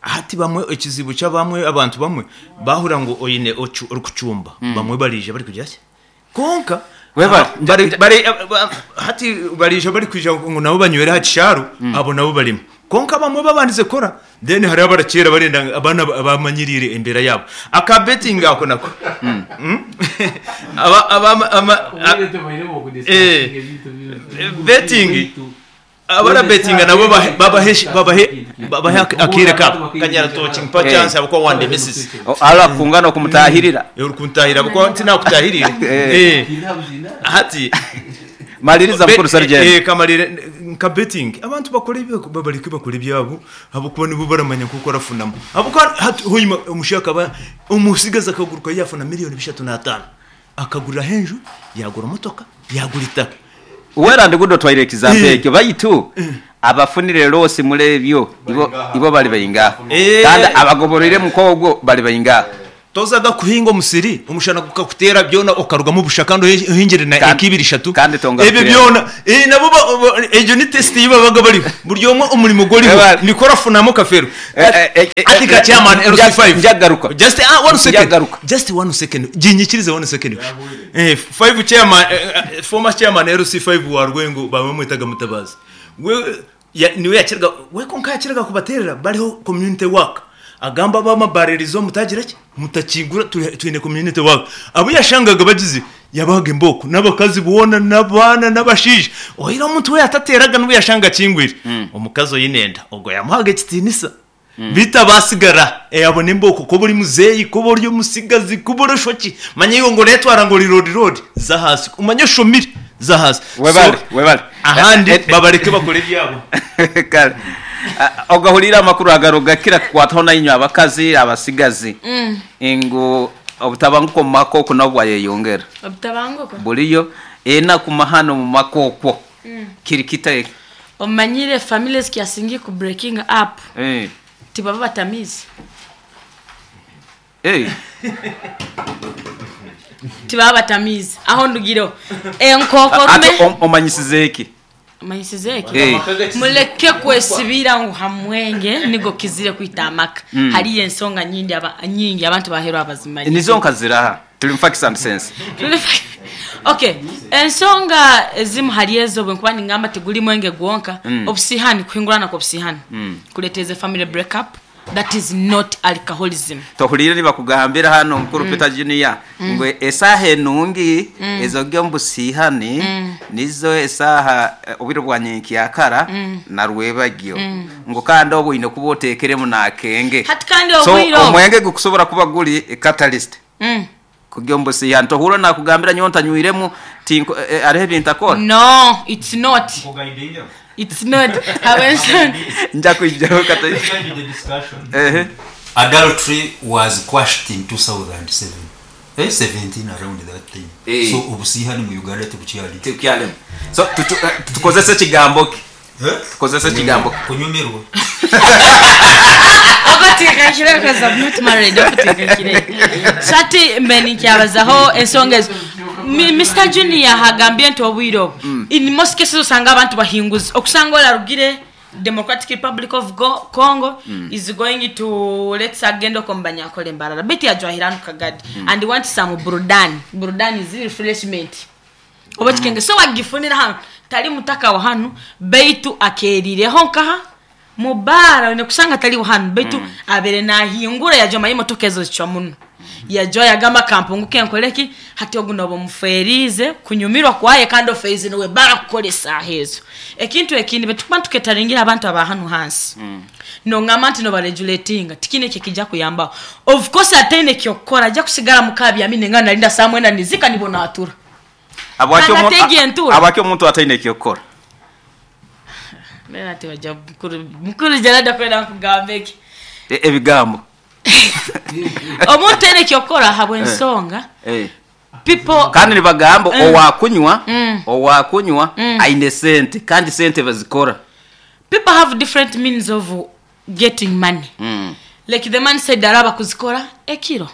Hati bamwe ekizibu ky'abamwe abantu bamwe bahurira ngu oine orikucumba bamwe bariija barikugira ki kwonka
Webale.
hati bariija barikwija ngu nabo banywere aha kishaaru abo nabo barimu kwonka abamwe babandize kukora then hariho abarakyera barenda ngu abaana abamanyiriire embeera yaabo aka betting ako nako aba aba ama betting Abarabetinga nabo babahe babahe akaire kabo. Kanyaratoki mpa chance ahabw'okuba wandemesize.
Hariho akukunga n'okumutahirira.
Orikuntahirira ahabw'okuba tinakutahiriire. Eh. Hati
Maliriza mukuru Sergeant.
Eh, kamarire nka betting abantu bakore babareke bakore ebyabo ahabw'okuba nibo baramanya nk'oku orafunamu. Ahabw'okuba hati hoima omushaija akaba omutsigazi akaguruka yafuna miriyoni bishatu n'ataano akaguriraho enju, yagura motoka, yagura eitaka.
Well and good otwaire example egyo baitu Abafunire loosi mule ebyo ibo ibo bali baingaha?
Eh.
Kandi abagoboroiremu nk'ogwo bali baingaha?
Tozaga kuhinga omusiri omushana gukakuteera byona okarugamu busha kandi ohingire na
Kandi
eka ibiri ishatu.
kandi
Ebyo
tongarukiremu.
byona eh, nabo ba- ba- egyo ni test ei babaga bariho. Buri omwe omurimo gworiho
Webale.
nikwo orafunamu kafeero.
Eh, eh, eh, eh,
Ati ka chairman
nja-
LC5.
njagaruka.
Just one second.
Njagaruka.
Just one second. Ginyikirize one second. Eh, five chairman former chairman LC5 wa Rwengo bamwetaga Mutabazi. We ya, niwe yakiraga we konka yakiraga kubaterera bariho community work. Agamba bamabaririzo mutagira ki mutakigura twine community work. Abo yashangaga bagize yabahaga emboko n'abakazi boona n'abaana n'abashaija. Oira omuntu we yatateraga n'obu yashanga akingwire. Omukazi oine enda ogwo yamuhaga ekitiinisa. Beitu abasigara abone emboko kuba ori muzeeyi, kuba ori omutsigazi, kuba ori oshoki, manya iwe ngu oreetwara ngu ori roodi-roodi, za ahansi. Omanye oshomire, za ahansi. So,
Webale, webale.
ahandi babareke bakore ebyabo.
Kale. Ogahuriire amakuru agaro gakira kukwataho nainywe abakazi, abasigazi, ngu obutabanguko omu maka oku nabwo bwayeyongera.
Obutabanguko?
Buriyo enaku mahano omu maka okwo. Kiri kita eki?
Omanyire family ezikyasingiye ku breaking up tibaba batamiize. Tibaba batamiize. Aho ndugireho. Enkokorume.
Hati omanyisize ki?
Omanyisize ki? Muleke kwesibira ngu ha mwenge nigo kizire kwita amaka. Hariyo ensonga nyingi aba, nyingi abantu baheru abazimanyire.
Nizo nka ziraha? Turi mu facts and sense.
Okay, ensonga ezimu hari ezo bwenkuba ningamba tiguri mwenge gwonka, obusihani, kuhingurana kw'obusihani kureeteza family break up, that is not alcoholism.
Tohuriire nibakugambira hanu Mukuru Peter Junior ngu esaaha enungi ez'ori omu busihani nizo esaaha obwire bwa nyenkyakara na rwebagyo ngu kandi obwo oine kuba oteekeremu n'akenge.
Hati kandi
So
obwire obwo.
omwenge gukusobora kuba guri catalyst kugya omu busihani. Tohurira nakugambira nyowe ntanywiremu tinko hariho ebi ntakora?
No, it's not. It's not. Habw'enshonga.
Nja kwijaho kata. Ehe.
Adultery was quashed in 2007. Eh, 17 around that time.
Eh.
So obusihani mu Uganda tibukyali.
Tibukyalimu. So tukozese ekigambo ki?
Eh?
Tukozese ekigambo ki?
Kunyumirwa.
Okuteekakire because I'm not married. Okuteekakire. So hati mbe ninkyabazaho ensonga ezo. Mister Junior agambye nti obwire obu in most cases osanga abantu bahinguzi. Okusanga orarugire Democratic Republic of Congo is going to let's say agenda okwo omu Banyankore Mbarara beitu yajwahire hanu Kagadi and he wants some burudani. Burudani is refreshment. Oba ekikenge so wagifunira hanu tari mutaka wa hanu beitu akeeriireho nkaha mu baara oine kushanga tari wa hanu beitu abaire naahingura yajwa omanye emotoka ezo zicwa muno yajwa yagamba kampunguke nkore ki hati ogu nooba omufeeriize kunyumirwa kwaye kandi ofeeriize niwe baara kukora esaaha ezo. Ekintu ekindi bwetukuba nituketaringira abantu aba hanu hansi nongamba nti nobarejuletinga tikiine ekikija kuyambaho of course ataine kyokukora aija kusigara muka abyami ninga narinda saaha mwenda nizika nibwo natura.
Habwaki
Kandi
omu-
ate egyo entuura.
Habwaki omuntu ataine eky'okukora?
Mbwenu hati wagira mukuru mukuru Gerald akwenda nkugamba eki.
E- Ebigambo.
Omuntu taine eky'okukora ahabw'ensonga
Eh.
people
Kandi nibagamba owakunywa owakunywa aine sente kandi sente bazikora.
People have different means of getting money. Like the man said araba kuzikora ekiro.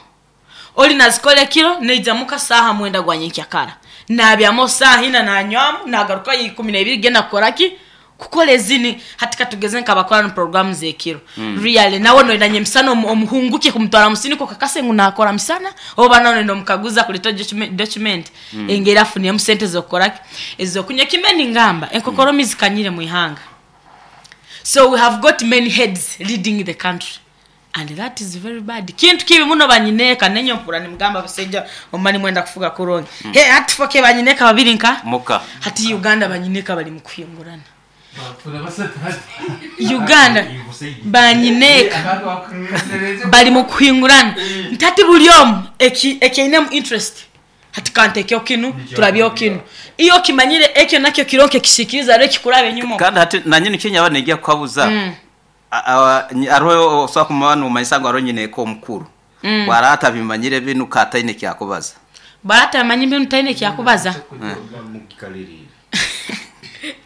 Ori nazikora ekiro naija muka saaha mwenda gwa nyenkyakara. Nabyama saaha ina nanywamu nagarukayo ikumi neibiri genda kukora ki? Kukora ezini. Hati katugeze nkabakora na programu zekiro. Really nawe noyenda nyemisana omuhunguke kumutwara musini kokakase ngu nakora misana oba nawe noyenda omukaguza akurete document engeri afuniremu sente zokukora ki? Ezokunywa. Ekimbe ningamba enkokoromi zikanyire mwihanga. So we have got many heads leading the country and that is very bad. Kintu kibi muno banyineeka nenye mpura nimugamba abasaija omuba nimwenda kufuga kurungi. He hati foke banyineeka babiri nka
Muka.
Hati Uganda banyineeka bari mukuhingurana. Uganda banyineeka bari mukuhingurana. Nti hati buri omwe eki eki ainemu interest. Hati kantekeho kinu, turabyeho kinu. Iwe okimanyire ekyo nakyo kironka ekisiikirize hariho ekikuraba enyima okwo.
Kandi hati nanye nikyo nyaba ningya kukabuza. Hariho osobola kumaba nomanyisa ngu hariho nyineeka omukuru. Bwaraaba atabimanyire binu ka ataine eki akubaza.
Bwaraaba atabimanyire binu taine eki akubaza.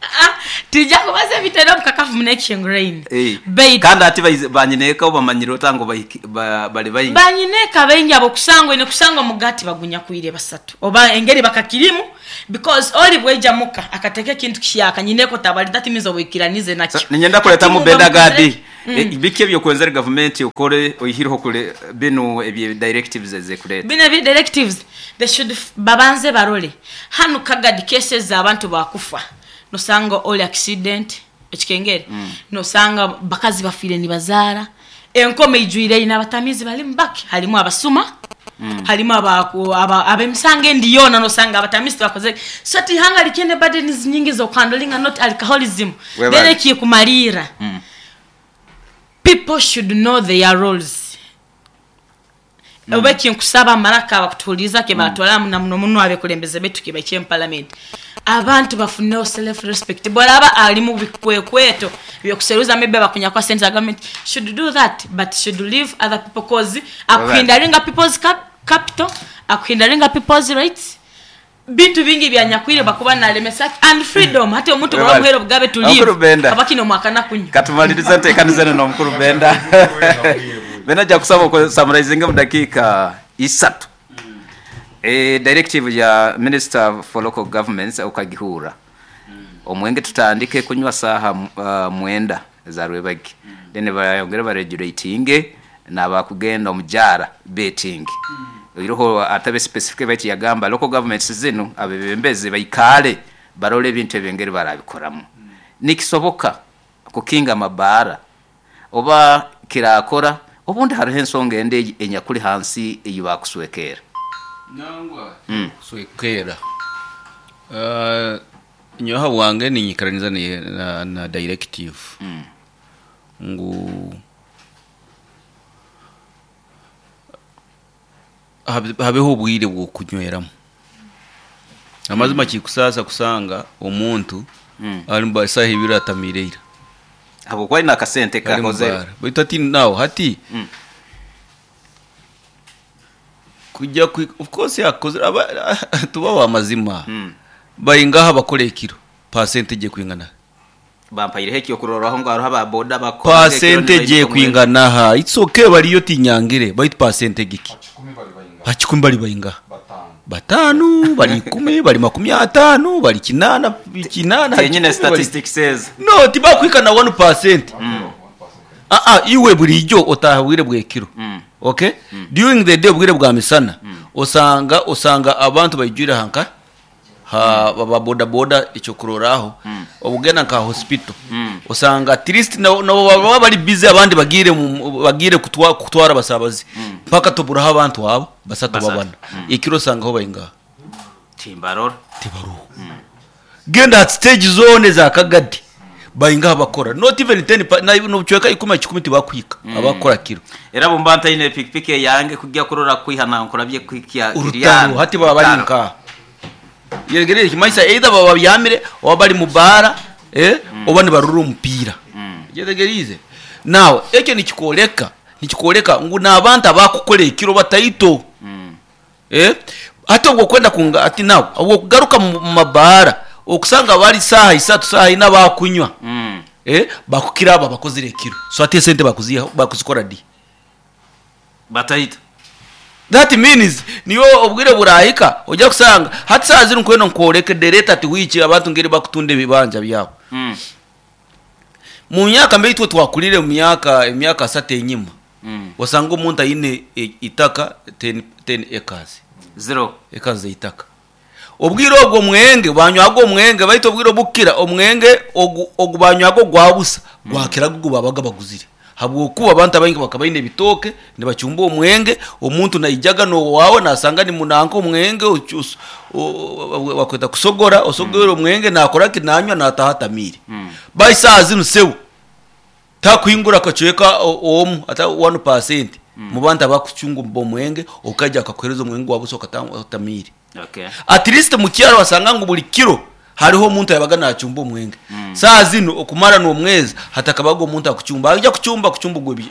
Ah, Tija kubaza ebitaine obukakafu muno ekihinguraine.
Eh,
Baitu
kandi hati baize- banyineeka obamanyire ota ngu bahiki- ba- bali baingi?
Banyineeka baingi abokusanga oine kusanga omugaati bagunyakwire basatu oba engeri bakakirimu because ori bwaija muka akateeka ekintu kihyaka nyineeka otabali that means obwikiranize
So,
nakyo.
ninyenda
Hati
kuretamu
muba
Benda
mukozire
Gadi.
ki?
Biki ebyokwenzere gavumenti okore oihireho kure binu ebye directives ezekureta?
Bino ebi directives they should babanze barole hanu Kagadi cases abantu bakufa nosanga oli accident ekikengere nosanga bakazi bafiire nibazaara enkoma eijwire eine abatamiizi balimu bake harimu abasuma harimu ab'emisango endi yoona nosanga abatamiizi tibakozire so ti ihanga rikyine burdens nyingi z'okuhandolinga not alcoholism then
Webale.
ekikumariira people should know their roles oba ekinkusaba amaraka abakutuhuriza ke batwara na muno muno abekulembeze betu ke baikye mu parliament abantu bafuneho self respect bwaraba ali mu bikwekweto byokuseruza maybe bakunyakwa sente za government should do that but should leave other people cause akuhindaringa people's capital akuhindaringa people's rights bintu bingi byanyakwire bakuba nalemesa and freedom hati omuntu
Webale.
bwamuhera obugabe to
Omukuru
live
Benda.
abakine omwakana kunywa
Katumalirize nteekanize n'omukuru Benda. Benda nja kusaba okusamarizinga mu dakiika isatu. Directive ya Minister for Local Governments okagihura. Omwenge tutandike kunywa saaha 9 za rwebagi. Then bayongere baregulatinge n'abakugenda omujaara betting. Oiroho atabe specific baitu yagamba local governments zinu abebembezi baikale barole ebintu ebengeri barabikoramu. Nikisoboka kukinga amabaara oba kirakora obundi hariho ensonga endi enyakuli hansi eyi bakuswekera.
Nangwa kuswekera. Nyoha bwange ninyikaraniza na directive ngu habeho obwire bw'okunyweramu. Amazima kikusasa kusanga omuntu ari mu saha ibiri atamiire ira.
Habwokuba aine akasente
Ari mu
kakoze.
bara. Baitu hati nawe hati kujya of course yakoze tuba wa mazima. Baingaha bakora ekiro percentage kwingana.
Bampaireho ekyokurorwaho ngu hariho aba boda bakora
Percentage kwingana ha. It's okay bariyo tinyangire baitu percentage ki? Hakikumi bari baingaha. Batano, bari 10, bari 50, bari 8, 8.
Tenyine statistics says.
No, tibakwika na 1%. Iwe bulijjo otahawire bwekiro. Okay? During the day obwire bwa misana osanga abantu bayijura hanka ha baba boda boda ekyokuroraho obugenda nka hospital osanga at least na baba bari busy abandi bagire kutwara abasabazi mpaka tuburaho abantu abo basatu babana ekiro osanga ho bayinga
Timbarora.
Tibaruho. Genda at stage zone za Kagadi bayinga bakora not even 10 na no chweka ikumi tibakwika abakora kiro.
Era bumba ntaine pikipiki yange kujya kurora kwihana nkurabye kwikia
urutaro hati baba bari nka yegereye kimaisa either baba byamire oba bari mu bara oba ni barura umupira. Yegereze now ekyo nikikoleka ngu nabantu abakukora ekiro bataito. Ate ubwo kwenda kunga ati nawe ubwo kugaruka mu mabara okusanga bari saha isatu saha ina bakunywa. Bakukira aba bakozire ekiro. So ate sente bakuzikora di.
Bataita.
That means niyo obwire burahika ojya kusanga hati saha ziri nkweno nkoreke dereta ati wiki abantu ngeri bakutunde bibanja byabo. Mu myaka mbe itwe twakulire mu myaka emyaka 3 enyuma. Wasanga omuntu ayine itaka 10 acres.
0
acres itaka. Obwire ogwo mwenge banywago omwenge baito obwire obukira omwenge ogu banywago gwabusa gwakira gugu babaga baguzire. Habwokuba abantu abaingi bakabaine ebitoke nibachumba omwenge omuntu naijaga no wawe nasanga ni munanko omwenge wakweta kusogora osogora omwenge nakora kinanywa natahatamire. Baisa zinu sewu takwingura kachweka omu ata 1% mu bantu abakuchunga omwenge okaja akakwereza omwenge wabusa okatamire.
Okay.
At least mu kyaro wasanga ngu buli kiro hariho omuntu yabaga nachumba omwenge. Saa zino okumara n'omwezi hatakabaga omuntu akuchumba. Ajya kuchumba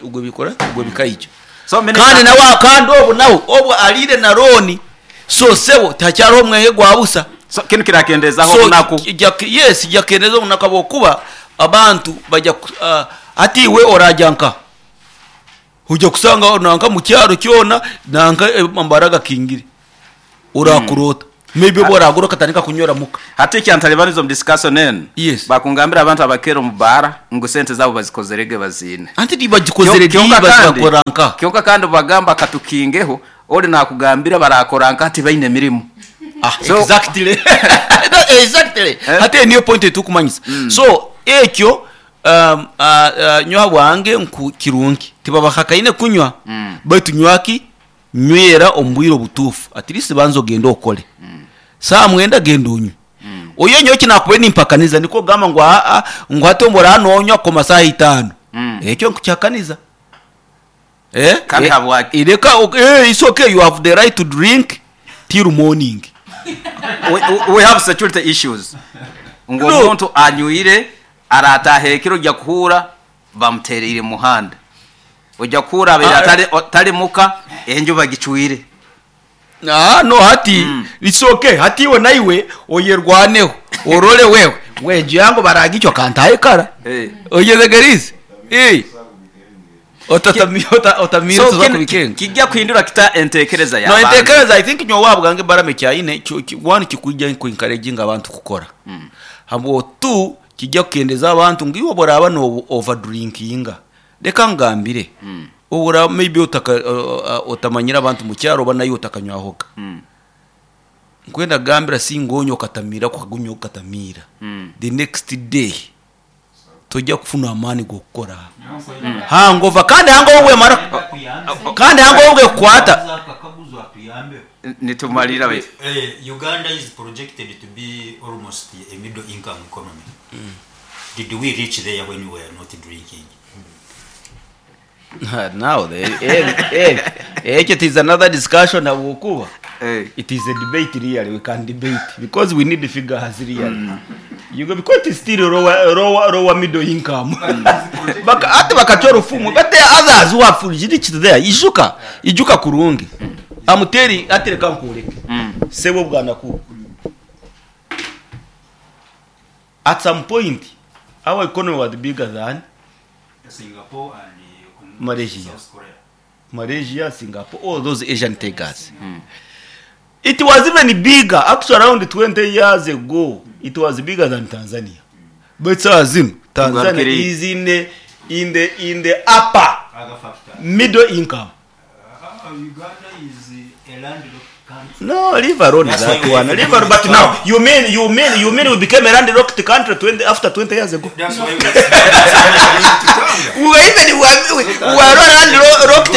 ugwe bikora ugwe bikaijo.
So
kandi nawe kandi obu nawe obu alire na roni so sebo takyaro omwenge gwabusa.
So kinu kirakendeezaho
So,
obunaku.
yes, kijja kukendeeza obunaku habwokuba abantu bajja ku hati iwe oragya nkaha? Oija kusanga nanka omu kyaro kyona nanka amabara gakingire orakurota maybe obu oragura okatandika kunywera muka.
Hati ekyantaribaniza omu discussion enu,
Yes.
bakungambira abantu abakera omu baara ngu sente zaabo bazikozere ge baziine.
Anti tibagikozere di
Kyonka kandi,
bazikora nkaha?
kyonka kandi obubagamba katukingeho, ori nakugambira barakora nkaha tibaine mirimo.
Ah,
So-
exactly. Exactly.
Eh?
Hati eyo niyo point etukumanyisa. So ekyo um, uh, uh, nyowe habwange nku kirungi tibabahakaine kunywa baitu nywa ki nywera omu bwire obutuufu at least banza ogende okole saaha mwenda genda onywe oyo nyowe eki nakubaire nimpakaniza nikwo kugamba ngu aa ngu hati obu oraba nonywa koma saaha itaano ekyo nkukihakaniza Eh?
Kandi
Eh,
habwaki?
Reka ok- eh, it's okay you have the right to drink till morning.
We have security issues ngu
No.
omuntu anywire arataaha ekiro ojja kuhuura bamutereire muhanda ojja kuhuura abaire
Ah,
atari tari muka enju bagicwire.
Ah, no hati it's okay hati iwe naiwe oyerwaneho orole wewe wenju yangu baragicwa kantahe kara
Eh.
oyetegerize eh otatamira otamira
So
tuza
kinu
kubikenga
kijja kuhindura kita entekereza
no
y'abantu.
entekereza i think nyowe ahabwange barame kyaine one kikwijja ku encouraging abantu kukora habwo two kijja kukendeza abantu ngu iwe obu oraaba no over drinkinga reka nkugambire obu oraaba maybe otaka otamanyire abantu mu kyaro oba naiwe otakanywahoga nkwenda kugambira singa onywa okatamiira kukagunywa okatamiira the next day tojja kufuna amaani g'okukora hangover kandi hangover bwemara kandi hangover bwekukwata
Nitumalira baitu.
Uganda is projected to be almost a middle income economy. Did we reach there when we were not drinking?
Now, ekyo it is another discussion habwokuba it is a debate really, we can debate because we need the figures really. You go because it's still lower, lower, lower middle income. Baka, ate bakacwa orufumu but there are others who have reached there. Ijuka, ijuka kurungi. Amuteri atereka nkureke. Sebo bwanaku. At some point our economy was bigger than
Singapore and
Malaysia.
South Korea.
Malaysia, Singapore, all those Asian takers. It was even bigger, actually around 20 years ago, it was bigger than Tanzania. But saa zino, Tanzania
Tugarukire.
is in the, in the, in the upper
Other factor.
middle income.
Uganda is a landlocked country.
No, leave alone
That's
that
why we
one.
have
Leave
to
alone. But
do
now, you mean we became a landlocked country 20, after 20 years ago?
That's why we we
We were even, we were, we were not landlocked.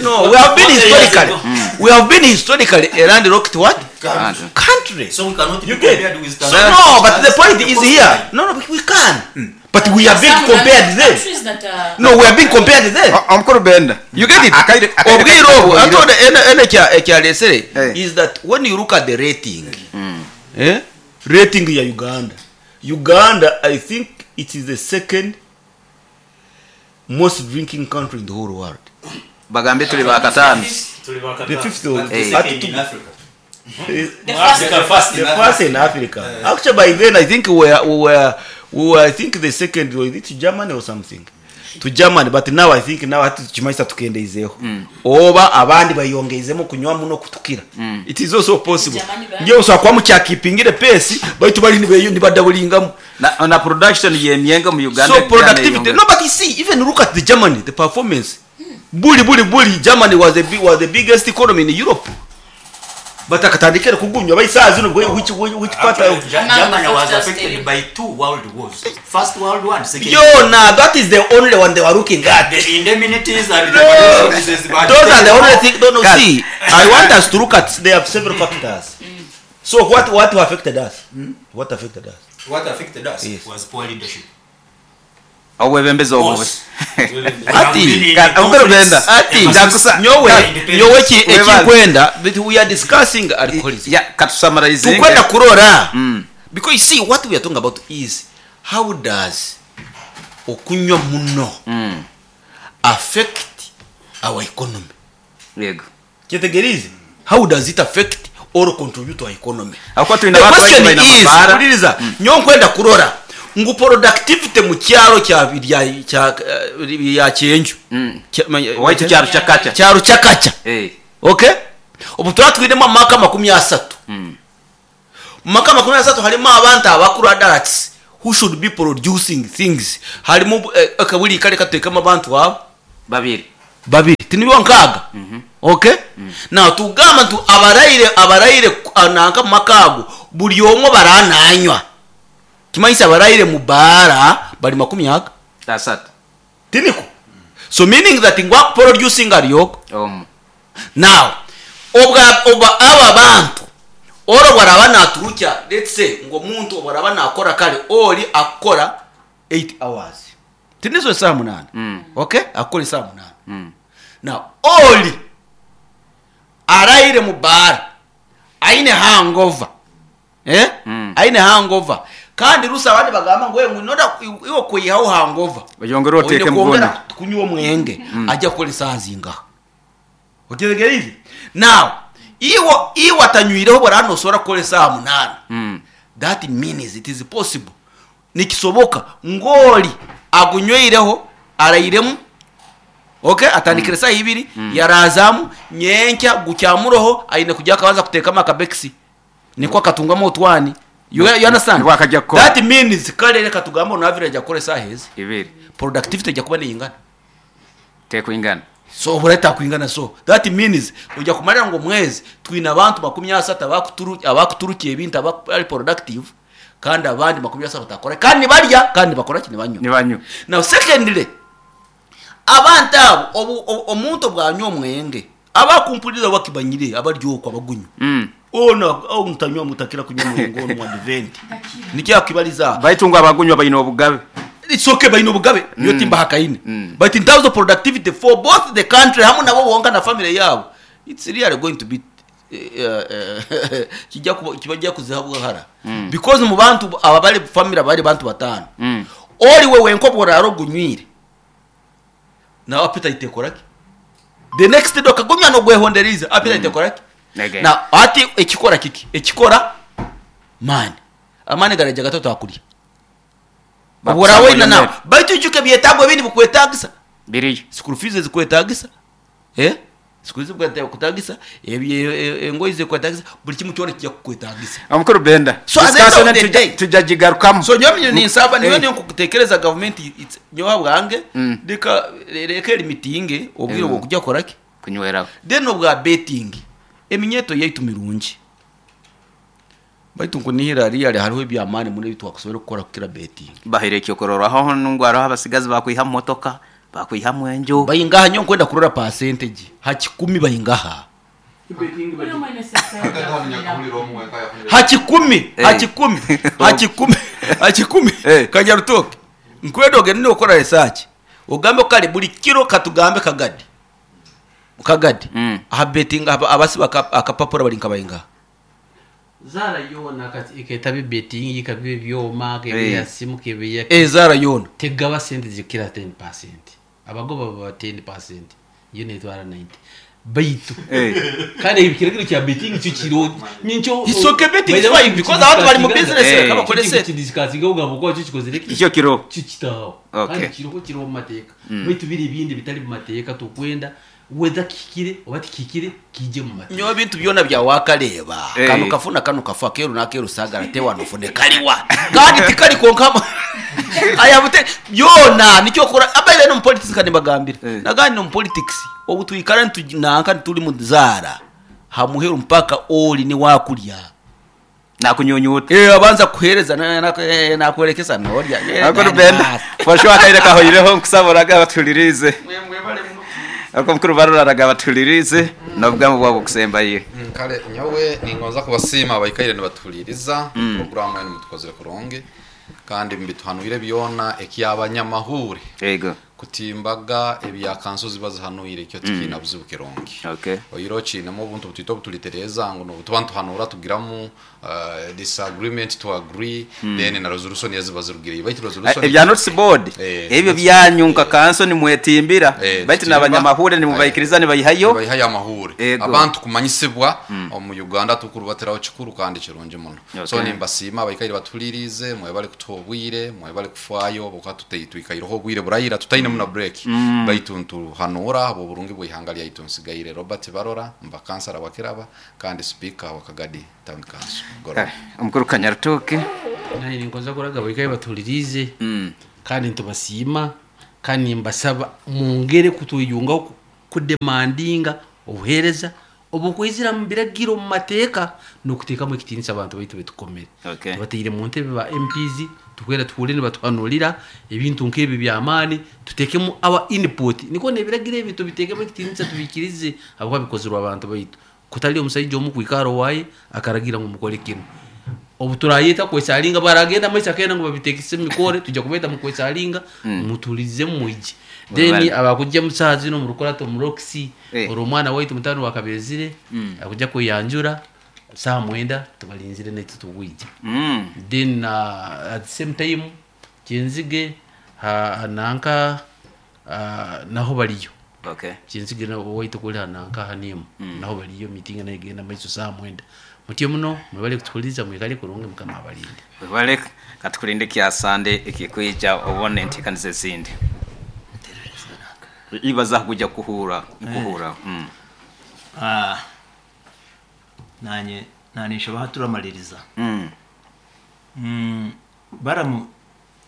No, we have been historically, we have been historically a landlocked what?
Country.
Country.
So we cannot be
You get
compared with
So
Tanzania.
no, but the point is here. No, no, we can. But we are being
Some
compared then.
countries that are
No, we are being compared then.
Omukuru Benda.
You get it?
Akaire- akaire-
Obwire obwo, ate ono ene ekyaresere
Eh.
is that when you look at the rating, eh? Rating ya Uganda. Uganda, I think it is the second most drinking country in the whole world.
Bagambe tuli bakataano.
The fifth one.
Eh.
At
Second in Africa.
the first
The first
the
in
first in Africa. Actually, by then I think we were I think the second was it Germany or something. To Germany, but now I think now hati tukimaisa tukendeizeho. Oba abandi bayongeizemu kunywa muno kutukira. It is also possible.
Germany ba-
Ngiye usaba kwa mukyakipingire pace baitu bali nibeyo nibadabulingamu.
Na production y'emyenge mu Uganda
So productivity. No, but you see, even look at the Germany, the performance. Buli buli buli Germany was the was the biggest economy in Europe. But akatandikira kugunywa baisaa zino which part
Actually, Germany was
Factors
affected
still.
by two world wars. First World War and Second.
Yo, nah, that is the only one they were looking at.
The indemnities and the
No.
resources, but
Those are the only thing. No, no,
Guys.
see, I want us to look at. There are several factors. So what affected us? What affected us?
What affected us
Yes.
was poor leadership.
Obwebembezi obubi.
Ati,
Omukuru Benda.
Ati,
Ndakusa-
nyowe, nyowe
Webaze.
ekikwenda, but we are discussing alcoholism.
Ya, katusummarizinge.
Tukwenda kurora. Because you see, what we are talking about is how does okunywa muno affect our economy?
Yego.
Kyetegerize. How does it affect Or contribute to our economy.
Ahakuba twine
The
abantu baingi
question
baine
is,
amabaara.
huliriza, nyowe nkwenda kurora ngu productivity mu kyaro kya rya kya rya Kyenju. Kya- manya-
Owaitu kyaro Kyakacha.
Kyaro Kyakacha.
Eh.
Okay? Obu turaba twinemu amaka 30. Mu maka 30 harimu abantu abakuru adults who should be producing things. Harimu eh, okay, buri ka reka tutekemu abantu abo.
Babiri.
Babiri. Tinibo nkaaga? Okay? Now tugamba ntu abaraire abaraire nanka mu maka ago buri omwe barananywa. Kimanyisa abaraire mu baara bari makumi aga?
Asatu.
Tiniko? So meaning that ngu akuproducinga ari ogu.
Omu.
Now obwa obwa aba bantu ori obu araba naturukya let's say ngu omuntu obu araba nakora kare ori akukora 8 hours tinizo esaaha munaana okay akukora esaaha munaana now ori araire mu baara aine hangover eh aine hangover kandi rusa abandi bagamba ngu ngu in order iwe kwihaho hangover
Oyongere
oine
oteekemu
kwongera
gundi.
kunywa omwenge ajya kukora esaaha zingaha Otegereize? Now, iwe iwe atanywireho bora nosobora kukora esaaha munaana. That means it is possible. Nikisoboka ng'ori agunyweireho arairemu okay atandikire esaaha ibiri yaraazamu nyenkya gukyamuroho aine kugya akabanza kuteekamu akabekisi nikwo akatungamu otwani. You, you understand?
Nibwo akajya kukora.
That means kare reka tugambe on average akora esaaha ezi.
Ibiri.
Productivity ejya kuba neyingana.
Tekwingana.
So obura takwingana so that means oja kumarira ngu omwezi twine abantu 30 abakuturu abakuturukia ebintu abari productive kandi abandi 30 batakora kandi nibarya kandi nibakora ki nibanywa.
Nibanywa.
Now secondly abantu abo obu, obu, omuntu obwanywa omwenge abakumpurira bakibanyire abari okwo abagunywa. Ona oh, mutanywa mutakira kunywa omwenge ono mwadvent. Nikyo akibaliza.
Baitu ngu abagunywa baine obugabe.
It's okay baine obugabe niyo timbahakaine. But in terms of productivity for both the country hamwe nabo bonka na family yabo it's really going to be kijya kuba kibajya kuzihabwa hara. Because mu bantu aba bari family abari bantu batano. Ori we wenko boraro gunywire. Nawe appetite ekoraki? The next day okagumya nogwehonderiza appetite ekoraki?
Again.
Na ati ekikora kiki? Ekikora mani. Amani garaja gato twakurya.
Bakusanga
Obwo orawe na
oyo
nawe.
mere.
Baitu ijuke ebyetaago ebindi bikwetaagisa.
Biriyo.
School fees zikwetaagisa. Eh? School fees zikwetaagisa, engoyi zikwetaagisa, buri kimwe kyona kijya kukwetaagisa.
Omukuru Benda.
So at the end of the day,
tujya gigarukamu.
So nyowe ninsaba niyo niyo nkutekereza government it's nyowe bwange reka reka limitinge obwire bwo kujya kora ki?
Kunyweraho.
Then obwa betting eminyeto yaitu mirungi. Baitu nkunihira hariya hariho ebyamaani muno ebi twakusobora kukora kukira betting.
Bahire ekyokurorwaho ngu hariho abasigazi bakwihamu motoka, bakwihamu enju.
Bayingaha nyowe nkwenda kurora percentage ha kikumi bayingaha. Ha kikumi, ha kikumi, ha kikumi, ha kikumi. Kanyarutoke. Nkwenda ogende nokora research. Ogambe kare buri kiro katugambe kagadi. Kagadi. Aha betting abasiba akapapura bari nkabayingaha.
Zara yoona kati eketabe betting ikabe ebyoma kebe ya simu kebe ya
Zara yoona.
Tegaba sente zikira 10%. Abagoba baba 10%. Yo netwara 90. Baitu. Kandi ekiragiro kya betting kyo kiro nincho
It's okay betting is fine because abantu bari mu business reka bakore sente.
Kidiscussinga ugamba ko kyo kikozere ki?
Kyo kiro.
Kyo kitaho.
Okay.
Kandi kiriho kiriho mu mateeka. Baitu biri ibindi bitari mu mateeka tukwenda whether kikire oba tikikire kije mu mateeka.
Nyowe bintu byona bya wakareba. Kano kafuna kano kafa keru na keru sagara tewa nofune kaliwa. Kandi tikali konkama. Aya bute byona nicyo kora abaire no mu politics kandi bagambira. Nagandi no mu politics obu twikara ntunanka tuli mu zara. Hamuheru mpaka oli ni wakulya.
Nakunyunyuta.
Abanza kuhereza na nolya.
Ako Rubenda. For sure akaire kahoireho nkusaboraga batulirize. Ako mukuru baruraraga batulirize nobwamu bwabo kusembaye.
Kale nyowe ningonza kubasiima abaikaire nibatuliriza programu yenu mutukozere kurungi kandi mbituhanuire byona ekyabanyamahuri.
Yego.
Kutimbaga ebya kanso ziba zihanuire ekyo tikiina buzibu kirungi.
Okay.
Oihireho kiinemu obuntu butwito obuturitereeza ngu nobutuba nituhanuura tugiramu disagreement to agree then na resolution eziba zirugireyo baitu resolution
Ebya notice board
Eh,
ebyo
notice
byanyu nka
eh.
kanso nimwetimbira
Eh,
baitu
tutimba.
nabanyamahure nimubaikiriza nibaihayo
Nibaihayo amahuure.
Ego.
Abantu kumanyisibwa omu Uganda tukurubatiraho kikuru kandi kirungi muno. So
Okay.
nimbasiima abaikaire batuhuririize, mwebale kutuha obwire, mwebale kufaayo habwokuba twikaireho obwire buraira tutainemu na break baitu nituhanuura ahabw'oburungi bw'eihanga ryaitu. Nsigaire Robert Barora, mba kansara wa Kiraba kandi sipiika wa Kagadi Town Council. Mugoroba.
Kare, omukuru Kanyarutoke.
Naanye ningonza kuraga abaikaire batuhuririize kandi nitubasiima kandi nimbasaba mwongere kutweyungaho kudemandinga obuheereza obukwizira omu biragiro omu mateeka n'okuteekamu ekitiinisa abantu baitu betukomere.
Okay.
Tubateire mu ntebe ba MPs tukwenda tuhuurire nibatuhanuurira ebintu nk'ebi by'amaani tuteekemu our input nikwo n'ebiragiro ebi tubiteekemu ekitiinisa tubiikirize ahabw'okuba bikozirwe abantu baitu kutari omusaija omu kwikara owaaye akaragira ngu mukore kinu. Obu turayeta kwesalinga baragenda maiso akenda ngu babitekese omu mikore tuja kubeta mu kwesalinga mutulize mwije. Then
Webale.
abakujja mu saaha zinu omu rukurato omu Roxy
Eh.
ori omwana waitu mutano wa Kabezire akujja kweyanjura saaha mwenda tubalinzire naitwe tubwije. Then at the same time Kyenzige ha nanka naho bariyo.
Okay.
Kyenzige nabo waitu kuri nanka hanimu naho bariyo meeting nayo egenda maiso saaha mwenda. Mutyo muno mwebale kutuhuriza mwikare kurungi mukama abalinde.
Webale katukulinde ekya Sande ekikwija obone enteekaniza ezindi. Ibaza kuja kuhura kuhura.
Ah, nanye nanisha turamaliriza. Baramu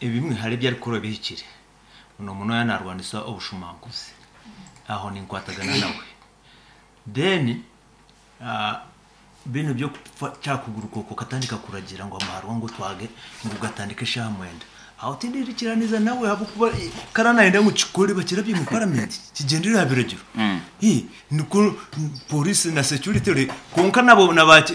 ebimwe hari ebi arikukora bihikire. Muno muno yanarwanisa obushumanguzi. Aho ninkwatagana nawe. Then binu byo kyakuguruka okwo katandika kuragira ngu amaharwa ngu twage ngu gatandike eshaaha mwenda. Aho tindirikiraniza nawe ahabw'okuba karanayenda ngu kikore bakirabye mu parliament kigyendere aha biragiro. Nikwo polisi na security kwonka nabo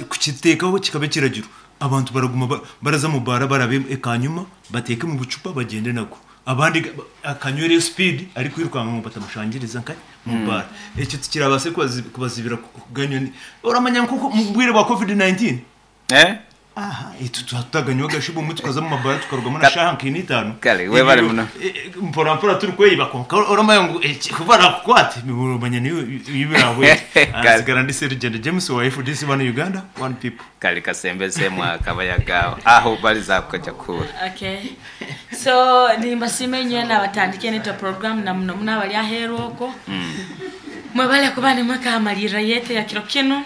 kukiteekaho kikaba ekiragiro. Abantu baraguma baraza mu baara barabe ekanyuma bateeke mu bucupa bagyende nagwo. Abandi akanywereyo speed arikwirukanga ngu batamushangiriza nka mu baara. Ekyo tikirabaase kubazibira kuganywa. Oramanya nk'oku mu bwire bwa COVID-19? Aha, itwe tutaganywa agashuba omwe tukaza mu mabaara tukarugamu na shaaha nka ina itaano.
Kare, webale muno.
Mpora mpora turikweyiba kwonka oramanya ngu ku barakukwate oramanya niyo birahwere.
Kare.
Nsigara ndi Serugendo James wa FDC One Uganda, One People.
Kare kasembeze mwaka bayagaho aho bariza kuja kura.
Okay. So nimbasiima inywe nabatandike nito program na muno muno abari aheeru okwo. Mwebale kuba nimwekamalirira yete ya kiro kinu.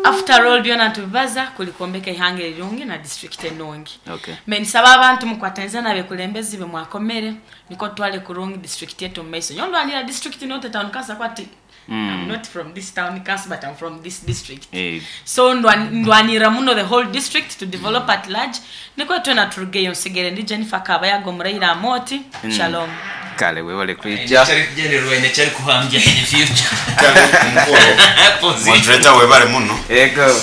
After all byona nitubibaza kuli kwombeka ihanga erirungi na district enungi.
Okay.
Me nisaba abantu mukwataniza n'abekulembezi be mwakomere niko twale kurungi district yetu mumaiso. Nyowe ndwanira district not town council kwati I'm not from this town council but I'm from this district. So ndwanira muno the whole district to develop at large. Niko twena turugeyo nsigere ndi Jennifer Kabayago Muraira Amoti. Shalom.
Kale webale kwija.
Kyari kugendererwa ine kyari kuhambya in the future.
Kale mukuru. Moderator webale muno.
Ego.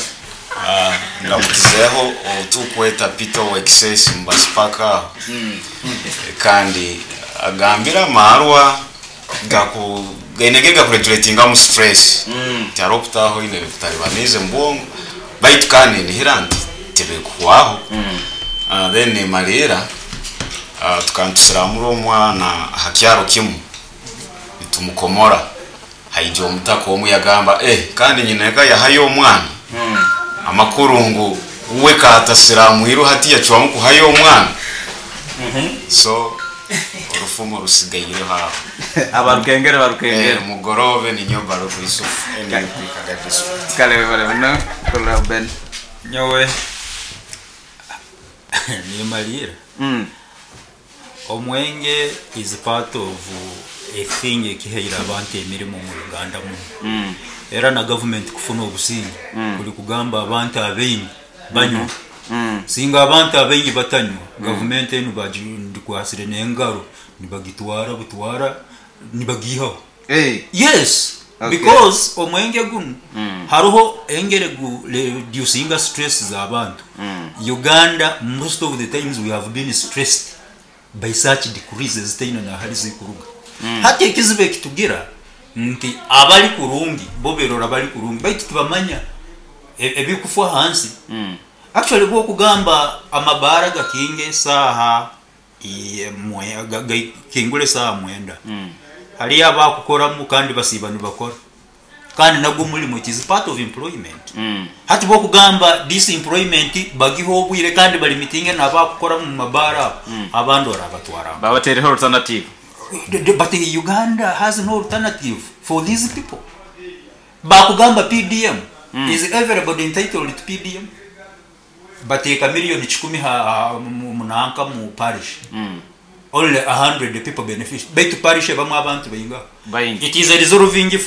Ndamukizeho otukweta Peter Wexes mbasipaka. Kandi agambira amarwa gaku gainege gakuregulatinga mu stress. Tihariho okutaho ine kutaribanize mu bwongo. Baitu kandi nihira nti tibikuhwaho. Then nimalira tukantusiramura omwana aha kyaro kimwe nitumukomora. Haija omutaka omwe yagamba kandi nyina eka yahayo omwana. Amakuru ngu uwe katasiramuiru hati yacwamu kuhayo omwana. So orufumo rusigaireho aho.
Abarukengere barukengere.
Mugorobe ni nyoba ruku Yusuf. NUP Kagadi District.
Kale webale muno. Kola Ben.
Nyowe nimalira. Omwenge is part of a thing ekiheire abantu emirimo mu Uganda muno. Era na government kufuna obusinge. Kuli kugamba abantu abaingi banywa. Singa abantu abaingi batanywa, government enu bagikwasire n'engaro nibagitwara butwara nibagihaho. Yes.
Okay.
Because omwenge guno hariho engere gu reducinga stress z'abantu. Uganda most of the times we have been stressed. By such decrees ezitaine nahari zikuruga. Hati ekizibu ekitugira nti abari kurungi bo berora bari kurungi baitu tibamanya ebikufwa ahansi. Actually bwokugamba amabaara gakinga esaaha gakingura esaaha mwenda hariyo abakukoramu kandi basiiba nibakora. Kandi nagwo omurimo it is part of employment. Hati bwokugamba this employment bagihe obwire kandi balimitinge nabakukora omu mabaara abo, abandi orabatwara nkaha?
Babatereho alternative.
But Uganda has no alternative for these people. Bakugamba PDM, is everybody entitled to PDM? Bateeka million kikumi nanka mu parish, only 100 people benefit, baitu parish ebamu abantu baingaha?
Baingi.
It is a resolving fund.